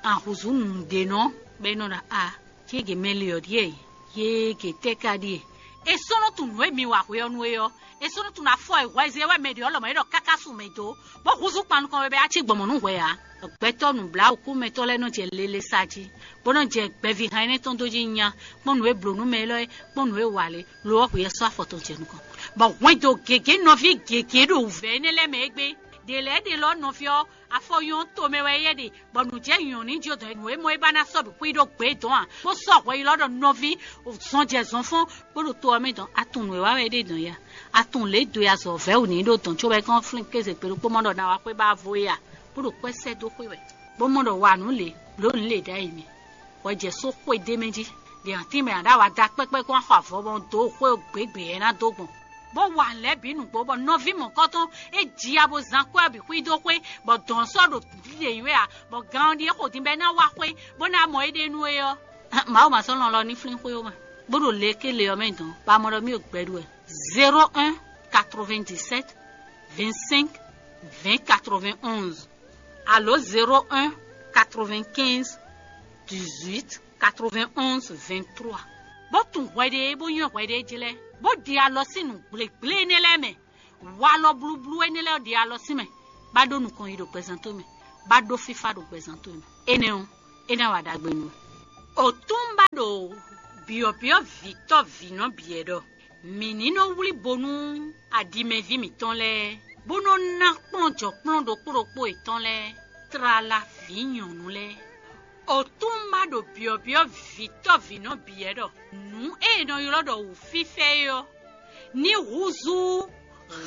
ahǔzú nǔɖénɔ bɔ é nɔ ɖɔ a, cége mɛ le ɔ́ ɖíe, yége tɛ́ ka ɖíe? È sɔ́ nɔ tunwun nǔ e mi wa hwe ɔ́ nú é ɔ́, è sɔ́ nɔ tunwun afɔ e hwɛzé wɛ mɛ ɖě ɔ́ lɔmɔ̌ é ɖɔ káká sun mɛ dó, bó húzú kpan nukɔn we bɔ é ná cí gbɔn mɔ̌ nú hwɛ ǎ. Gbɛtɔ́ nǔbláwǔkúmɛtɔ́ lɛ́ɛ nɔ jɛ lele sa jí, bó nɔ́ jɛ gbɛvihán énɛ́ tɔn dó jí nya, kpɔ́n nǔ e blǒ nú mɛ élɔ́ é, kpɔ́n nǔ e wa lě, lo ɔ́ hwǐ ɔ́ sɔ́ afɔ tɔn jɛ nukɔn, bɔ hwɛndo gěgé nɔví gěgé ɖo wǔvɛ́ énɛ́ lɛ́ɛ mɛ égbé. Ɖě lɛ́ɛ ɖe lɔ nɔví ɔ́, afɔ nyɔ́ tomɛ wɛ éyɛ́ ɖe, bɔ nǔ jɛ nyɔ̌ ní jó dɔn nǔ e mɔ é ba ná sɔ́ bǐ xwí ɖó gbě dɔn a? Bó sɔ́ hwɛ yi lɔ ɖɔ nɔví zɔn jɛ zɔn fɔ́n, bó ɖo to ɔ́ mɛ dɔn. A tunwun nǔ e wa wɛ é ɖe dɔn ya? A tunwun lě e do ya zɔ vɛ̌ wǔ n'i ɖó dɔn cóbɔ é kɔn flín kéze kpé ɖokpó mɔ ɖɔ ná wá xwé ba vo é a? Bó ɖo kwɛ́ sɛ́ dó xwé wɛ, bó mɔ ɖɔ wa nǔ lě, blǒ nǔ lě ɖ'ayǐ mɛ. Hwɛ jɛ só xwé d'é mɛ jí. Ɖě ǎ tínmɛ ǎ ɖo awa da kpɛ́kpɛ́ kɔn wá xɔ avɔ bɔ dǒ xwé gběgbě ɛ ná dó gbɔn. Bó wa nǔ lɛ́ɛ bǐ nǔgbó bɔ nɔví mɔ̌kɔ́tɔn é ji ya bó zán kwɛ́ ɔ́ bǐ xwí dó xwé, bɔ dɔ̌n sɔ́ ɖo ɖiɖe nyí wɛ ǎ, bɔ gan ɔ́ ɖíe xo din bɔ é ná wá xwé, bó ná mɔ éɖée nú é ɔ́. Mawu ma sɔ́ lɔn lɔ ní flín xwé ó ma, bó ɖo le ké le ɔ́ mɛ dɔn, ba mɔ ɖɔ mì ɖo gbɛ ɖu wɛ. Zéro un quatre-vingt-dix-sept vingt-cinq vingt quatre-vingt-onze alo zéro un quatre-vingt-quinze dix-huit quatre-vingt-onze vingt-trois. Bó tunwun hwɛɖée bó nywɛ́ hwɛɖée jlɛ́, bó ɖi alɔ sín nǔ gblěgblé énɛ́ lɛ́ɛ mɛ. Walɔ blúblú énɛ́ lɛ́ɛ ɖi alɔ sín mɛ, bá ɖó nukɔn yi ɖo gbɛzán towe mɛ, bá ɖó fífá ɖo gbɛzán towe mɛ. Énɛ́ ɔ́, é ná wa ɖagbe nú we. Otúnba ɖo byɔ̌byɔ́ vǐtɔ́ vǐnɔ byɔ̌ ɖɔ: Mǐ ní nɔ wlí bo nú aɖimɛví mǐtɔn lɛ́ɛ, bó nɔ ná kplɔ́njɔkplɔ́n ɖokpó ɖokpó yětɔn lɛ́ɛ, tlala vǐ nyɔ̌nu lɛ́ɛ. Otúnba ɖo byɔ̌byɔ́ vǐtɔ́ vǐnɔ byɔ̌ ɖɔ: Nǔ e è nɔ ylɔ́ ɖɔ wǔfífɛ́ é ɔ́, ní húzú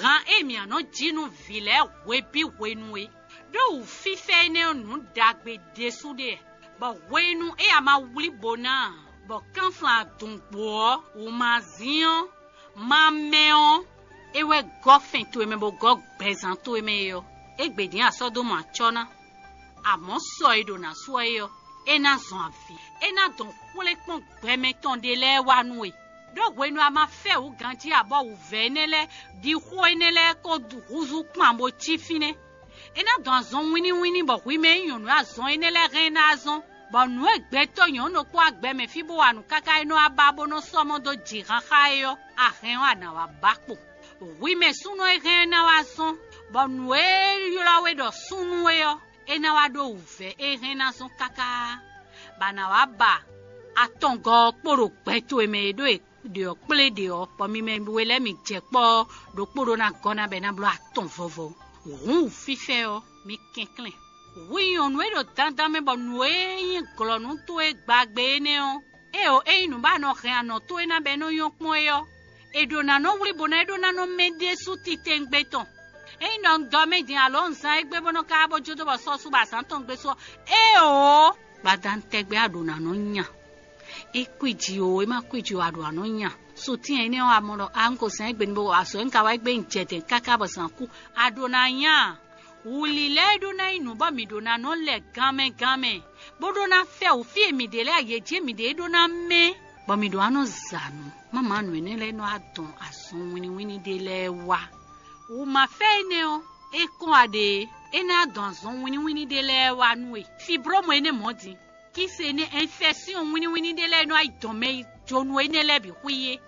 han e mǐ nɔ jí nú vǐ lɛ́ɛ hwebǐ hwenu é. Ɖó wǔfífɛ́ énɛ́ ɔ́ nǔ ɖagbe ɖésú ɖe, bɔ hwenu e a ma wlí bo ná ǎ, bɔ kánflán adungbo ɔ́, wǔmazín ɔ́, ma mɛ ɔ́, é wɛ gɔ́ fɛn towe mɛ bó gɔ́ gbɛzán towe mɛ é ɔ́, égbé dín a sɔ́ dó mɔ acɔ́ ná. Amɔ̌ sɔ e ɖo nǎ sú ɔ́ é ɔ́, é ná zɔn avǐ; é ná dɔn xwlé kpɔ́n gbɛ mɛtɔn ɖé lɛ́ɛ wá nú we. Ɖó hwenu a ma fɛ wǔ ganjí abɔ wǔvɛ́ énɛ́ lɛ́ɛ ɖi xó énɛ́ lɛ́ɛ kó húzú kpan bó cí fínɛ́. É ná dɔn azɔn wínníwínní bɔ hwi mɛ e nyí nyɔ̌nu e azɔn énɛ́ lɛ́ɛ hɛn ná zɔ́n, bɔ nǔ e gbɛtɔ́ nyɔ̌nu ɖokpó agbɛmɛ fí bó wa nǔ káká é nɔ wá ba bó nɔ sɔ́ mɔ dó jǐ xáxá é ɔ́, a hɛn ɔ́ a nǎ wá ba kpo. Hwi mɛ súnnu e hɛn ná wá zɔ́n, bɔ nǔ e ylɔ́ we ɖɔ súnnu é ɔ́, é ná wá ɖó wǔvɛ́ e hɛn ná zɔ́n káká, bɔ a nǎ wá ba atɔngɔ́ ɔ́ kpo ɖo gbɛ towe mɛ e ɖó e ɖě ɔ́ kplé ɖě ɔ́, bɔ mi mɛ we lɛ́ɛ mi jɛ kpɔ́ ɔ́, ɖokpó ɖó ná gɔ́ ná bɔ é ná bló atɔn vɔvɔ. Hǔn wǔfífɛ́ ɔ́, mi kɛnklɛ́n. Hwi nyɔ̌nu e ɖo dandan mɛ bɔ nǔ e nyí glɔ̌nu towe gbagbe énɛ́ ɔ́, éeǒ, ényí nǔ ba nɔ hɛn anɔ̌ towe ná bɔ é nɔ nyɔ́ kpɔ́n é ɔ́, è ɖǒ ná nɔ wlí bó ná é ɖó ná nɔ mɛ ɖésú titewungbe tɔn. Ényí ɖɔ un dɔ mɛ din alo un zán égbé bó nɔ́ ka bó jó dó bɔ sɔ́ sú bɔ azǎn tɔn gbe sú ɔ́, éeǒ, gbadanu tɛgbɛ a ɖǒ ná nɔ nya. É kwíji o, é má kwíji o, a ɖǒ ná nɔ nya. Sutɛ́n énɛ́ ɔ́, a mɔ ɖɔ a un ko zán égbé ní bó azɔ̌ e un ka wa égbé un jɛ dɛ̌n káká bɔ zǎn kú, a ɖǒ ná nya. Wǔlilɛ́ e ɖó ná nyí nǔ bɔ mǐ ɖó ná nɔ lɛ ganmɛ ganmɛ, bó ɖó ná fɛ wǔ fí e mǐ ɖe lɛ́ɛ, yě jí mǐ ɖe é ɖó ná mɛ, bɔ mǐ ɖó ná nɔ za nǔ. Máma nǔ énɛ́ lɛ́ɛ nɔ wá dɔn azɔn wínníwínní ɖé lɛ́ɛ wá. Wǔmafɛ énɛ́ ɔ́, é kɔn wá ɖe é ná dɔn azɔn wínníwínní ɖé lɛ́ɛ wá nú we. Fibrómu énɛ́ mɔ̌ din, kíse énɛ́ ɛnfɛ́syɔ́n wínníwínní ɖé lɛ́ɛ nɔ wá yi dɔn mɛ yi jónú énɛ́ lɛ́ɛ bǐ xwí é.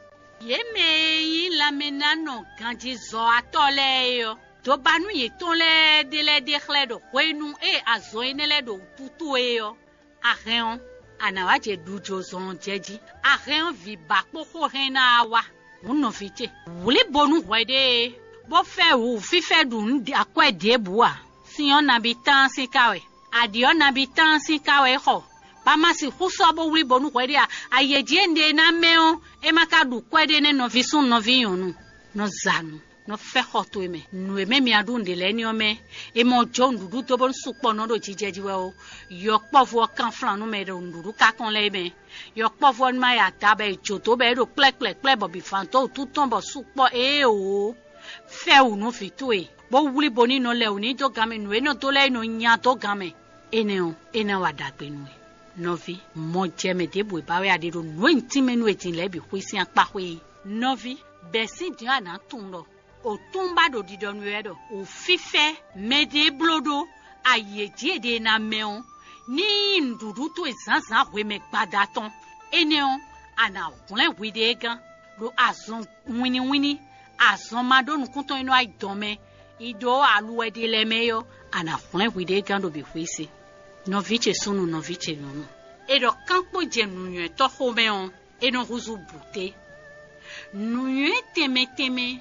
Yě mɛ e nyí lanmɛnánɔ ganjizɔ́watɔ́ lɛ́ɛ é ɔ́, dǒbanú yětɔn lɛ́ɛ ɖé lɛ́ɛ ɖe xlɛ́ ɖɔ hwenu e azɔn énɛ́ lɛ́ɛ ɖo wútu towe é ɔ́, a hɛn ɔ́, a nǎ wá jɛ ɖujo zɔn ɔ́ jɛ jí. A hɛn ɔ́, vǐ ba kpó xó hɛn ná wá wá. Hǔn nɔví ce, wlǐ bo nú hwɛɖée, bó fɛ́ wǔ fífɛ́ ɖu nǔ akwɛ́ ɖěbǔ ǎ. Sin ɔ́ nabí tán sín ká wɛ, aɖǐ ɔ́ nabí tán sín ká wɛ é xɔ, bá má sixú sɔ́ bó wlí bo nú hwɛɖée ǎ. Ayě jí e un ɖe ná mɛ ɔ́, é má ka ɖu kwɛ́ ɖé nɛ́ nɔví súnnu nɔví nyɔ̌nu, nɔ za nǔ, nɔ fɛ́ xɔ towe mɛ. Nǔ e mɛ mi a ɖu nǔɖé lɛ́ɛ ní ɔ́ mɛ, è mɔ jó nǔɖuɖu dó bónú sukpɔ́ nɔ ɖo jijɛ jí wɛ ó. Yɔkpɔ́vú ɔ́ kanflán nú mɛ e ɖo nǔɖuɖu ká kɔn lɛ́ɛ mɛ. Yɔkpɔ́vú ɔ́ ní má ya da bɔ è jǒ dó bɔ é ɖo kplɛ́kplɛ́kplɛ́ bɔ bǐ fán dó wǔtu tɔn bɔ sukpɔ́ éeǒ. Fɛ́ wǔ nú vǐ towe, bó wlí bo ní nɔ lɛ wǔ ní dó gan mɛ nǔ e nɔ dó lɛ́ɛ é nɔ nya dó gan mɛ. Énɛ́ ɔ́, é ná wa ɖagbe nú we. Nɔví, mɔ jɛ mɛ ɖěbǔ e ba wɛ a ɖe ɖo nǔ e un tínmɛ nú we din lɛ́ɛ bǐ xwí sín akpá xwé é. Nɔví, bɛ̌ sín din ɔ́ a nǎ tunwun ɖɔ òtúnba ɖo ɖiɖɔ nú we wɛ ɖɔ wǔfífɛ́ mɛɖée bló ɖó ayi e jí è ɖe ná mɛ ɔ́, ní nyí nǔɖuɖu towe zǎnzǎn hwemɛ gbada tɔn. Énɛ́ ɔ́, a nǎ hwlɛ́n hwiɖée gán ɖo azɔn wínníwínní, azɔn ma ɖó nukúntɔn e nɔ wá yi dɔn mɛ yi ɖó aluwɛ ɖé lɛ́ɛ mɛ é ɔ́, a nǎ hwlɛ́n hwiɖée gán ɖo bǐ xwísi. Nɔví ce súnnu, nɔví ce nyɔ̌nu, è ɖɔ kánpo jɛ nǔnywɛ́tɔ́ xomɛ ɔ́, é nɔ húzú bǔté. Nǔnywɛ́ tɛnmɛ tɛnmɛ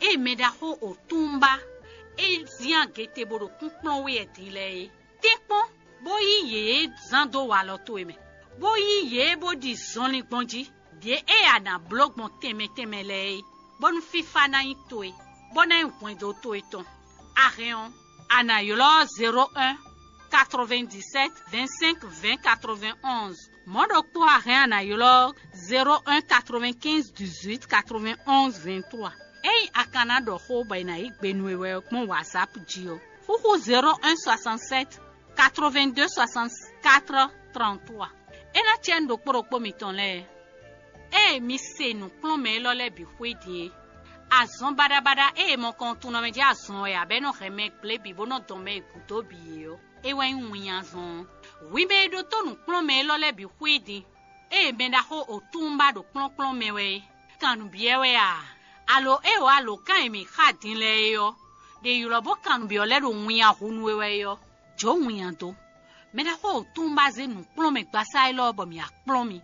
e mɛɖaxó òtúnba é zín agete bó ɖo kúnkplɔ́n wɛ din lɛ́ɛ é. Tɛ́nkpɔ́n, bó yí yě zán dó walɔ towe mɛ, bó yí yě bó ɖi zɔnlin gbɔn jí. Ɖě e a nǎ bló gbɔn tɛnmɛ tɛnmɛ lɛ́ɛ é, bónú fífá ná nyí towe, bó ná nyí hwɛndo towe tɔn. A hɛn ɔ́, a nǎ ylɔ́ zéro un, quatre-vingt-dix-sept, vingt-cinq, vingt, quatre-vingt-onze. Mɔ̌ ɖokpó a hɛn a nǎ ylɔ́ zéro un, quatre-vingt-quinze, dix-huit, quatre-vingt-onze, vingt-trois. Ényí a ka ná ɖɔ xó bɔ è nǎ yí gbe nú we wɛ ɔ́ gbɔn WhatsApp jí ɔ́, xúxú zéro un, soixante-sept, quatre-vingt-deux, soixante-quatre, trente-trois. É ná cɛ́ nú ɖokpó ɖokpó mitɔn lɛ́ɛ. Ée mi se nǔkplɔ́nmɛ élɔ́ lɛ́ɛ bǐ xwé din é, azɔn baɖabaɖa e è mɔ kɔn tunwun mɛ jɛ azɔn wɛ ǎ, bɔ é nɔ hɛn mɛ gblé bǐ bó nɔ dɔn mɛ e gǔdo bǐ é ɔ́, é wɛ nyí winnyazɔn ɔ́. Hwi mɛ e ɖótó nǔkplɔ́nmɛ élɔ́ lɛ́ɛ bǐ xwé din, ée mɛ ɖaxó Otúnba ɖo kplɔ́nkplɔ́n mɛ wɛ é, kan nǔ byɔ́ wɛ a? Alo é wǎ lǒ kan e mǐ xa din lɛ́ɛ é ɔ́, ɖe ylɔ́ bó kan nǔ byɔ́ lɛ́ɛ ɖo winnya hu nú we wɛ é ɔ́, jǒ winnya dó. Mɛ ɖaxó Otúnba zé nǔkplɔ́nmɛ gbasá élɔ́ bɔ mǐ wá kplɔ́n mi.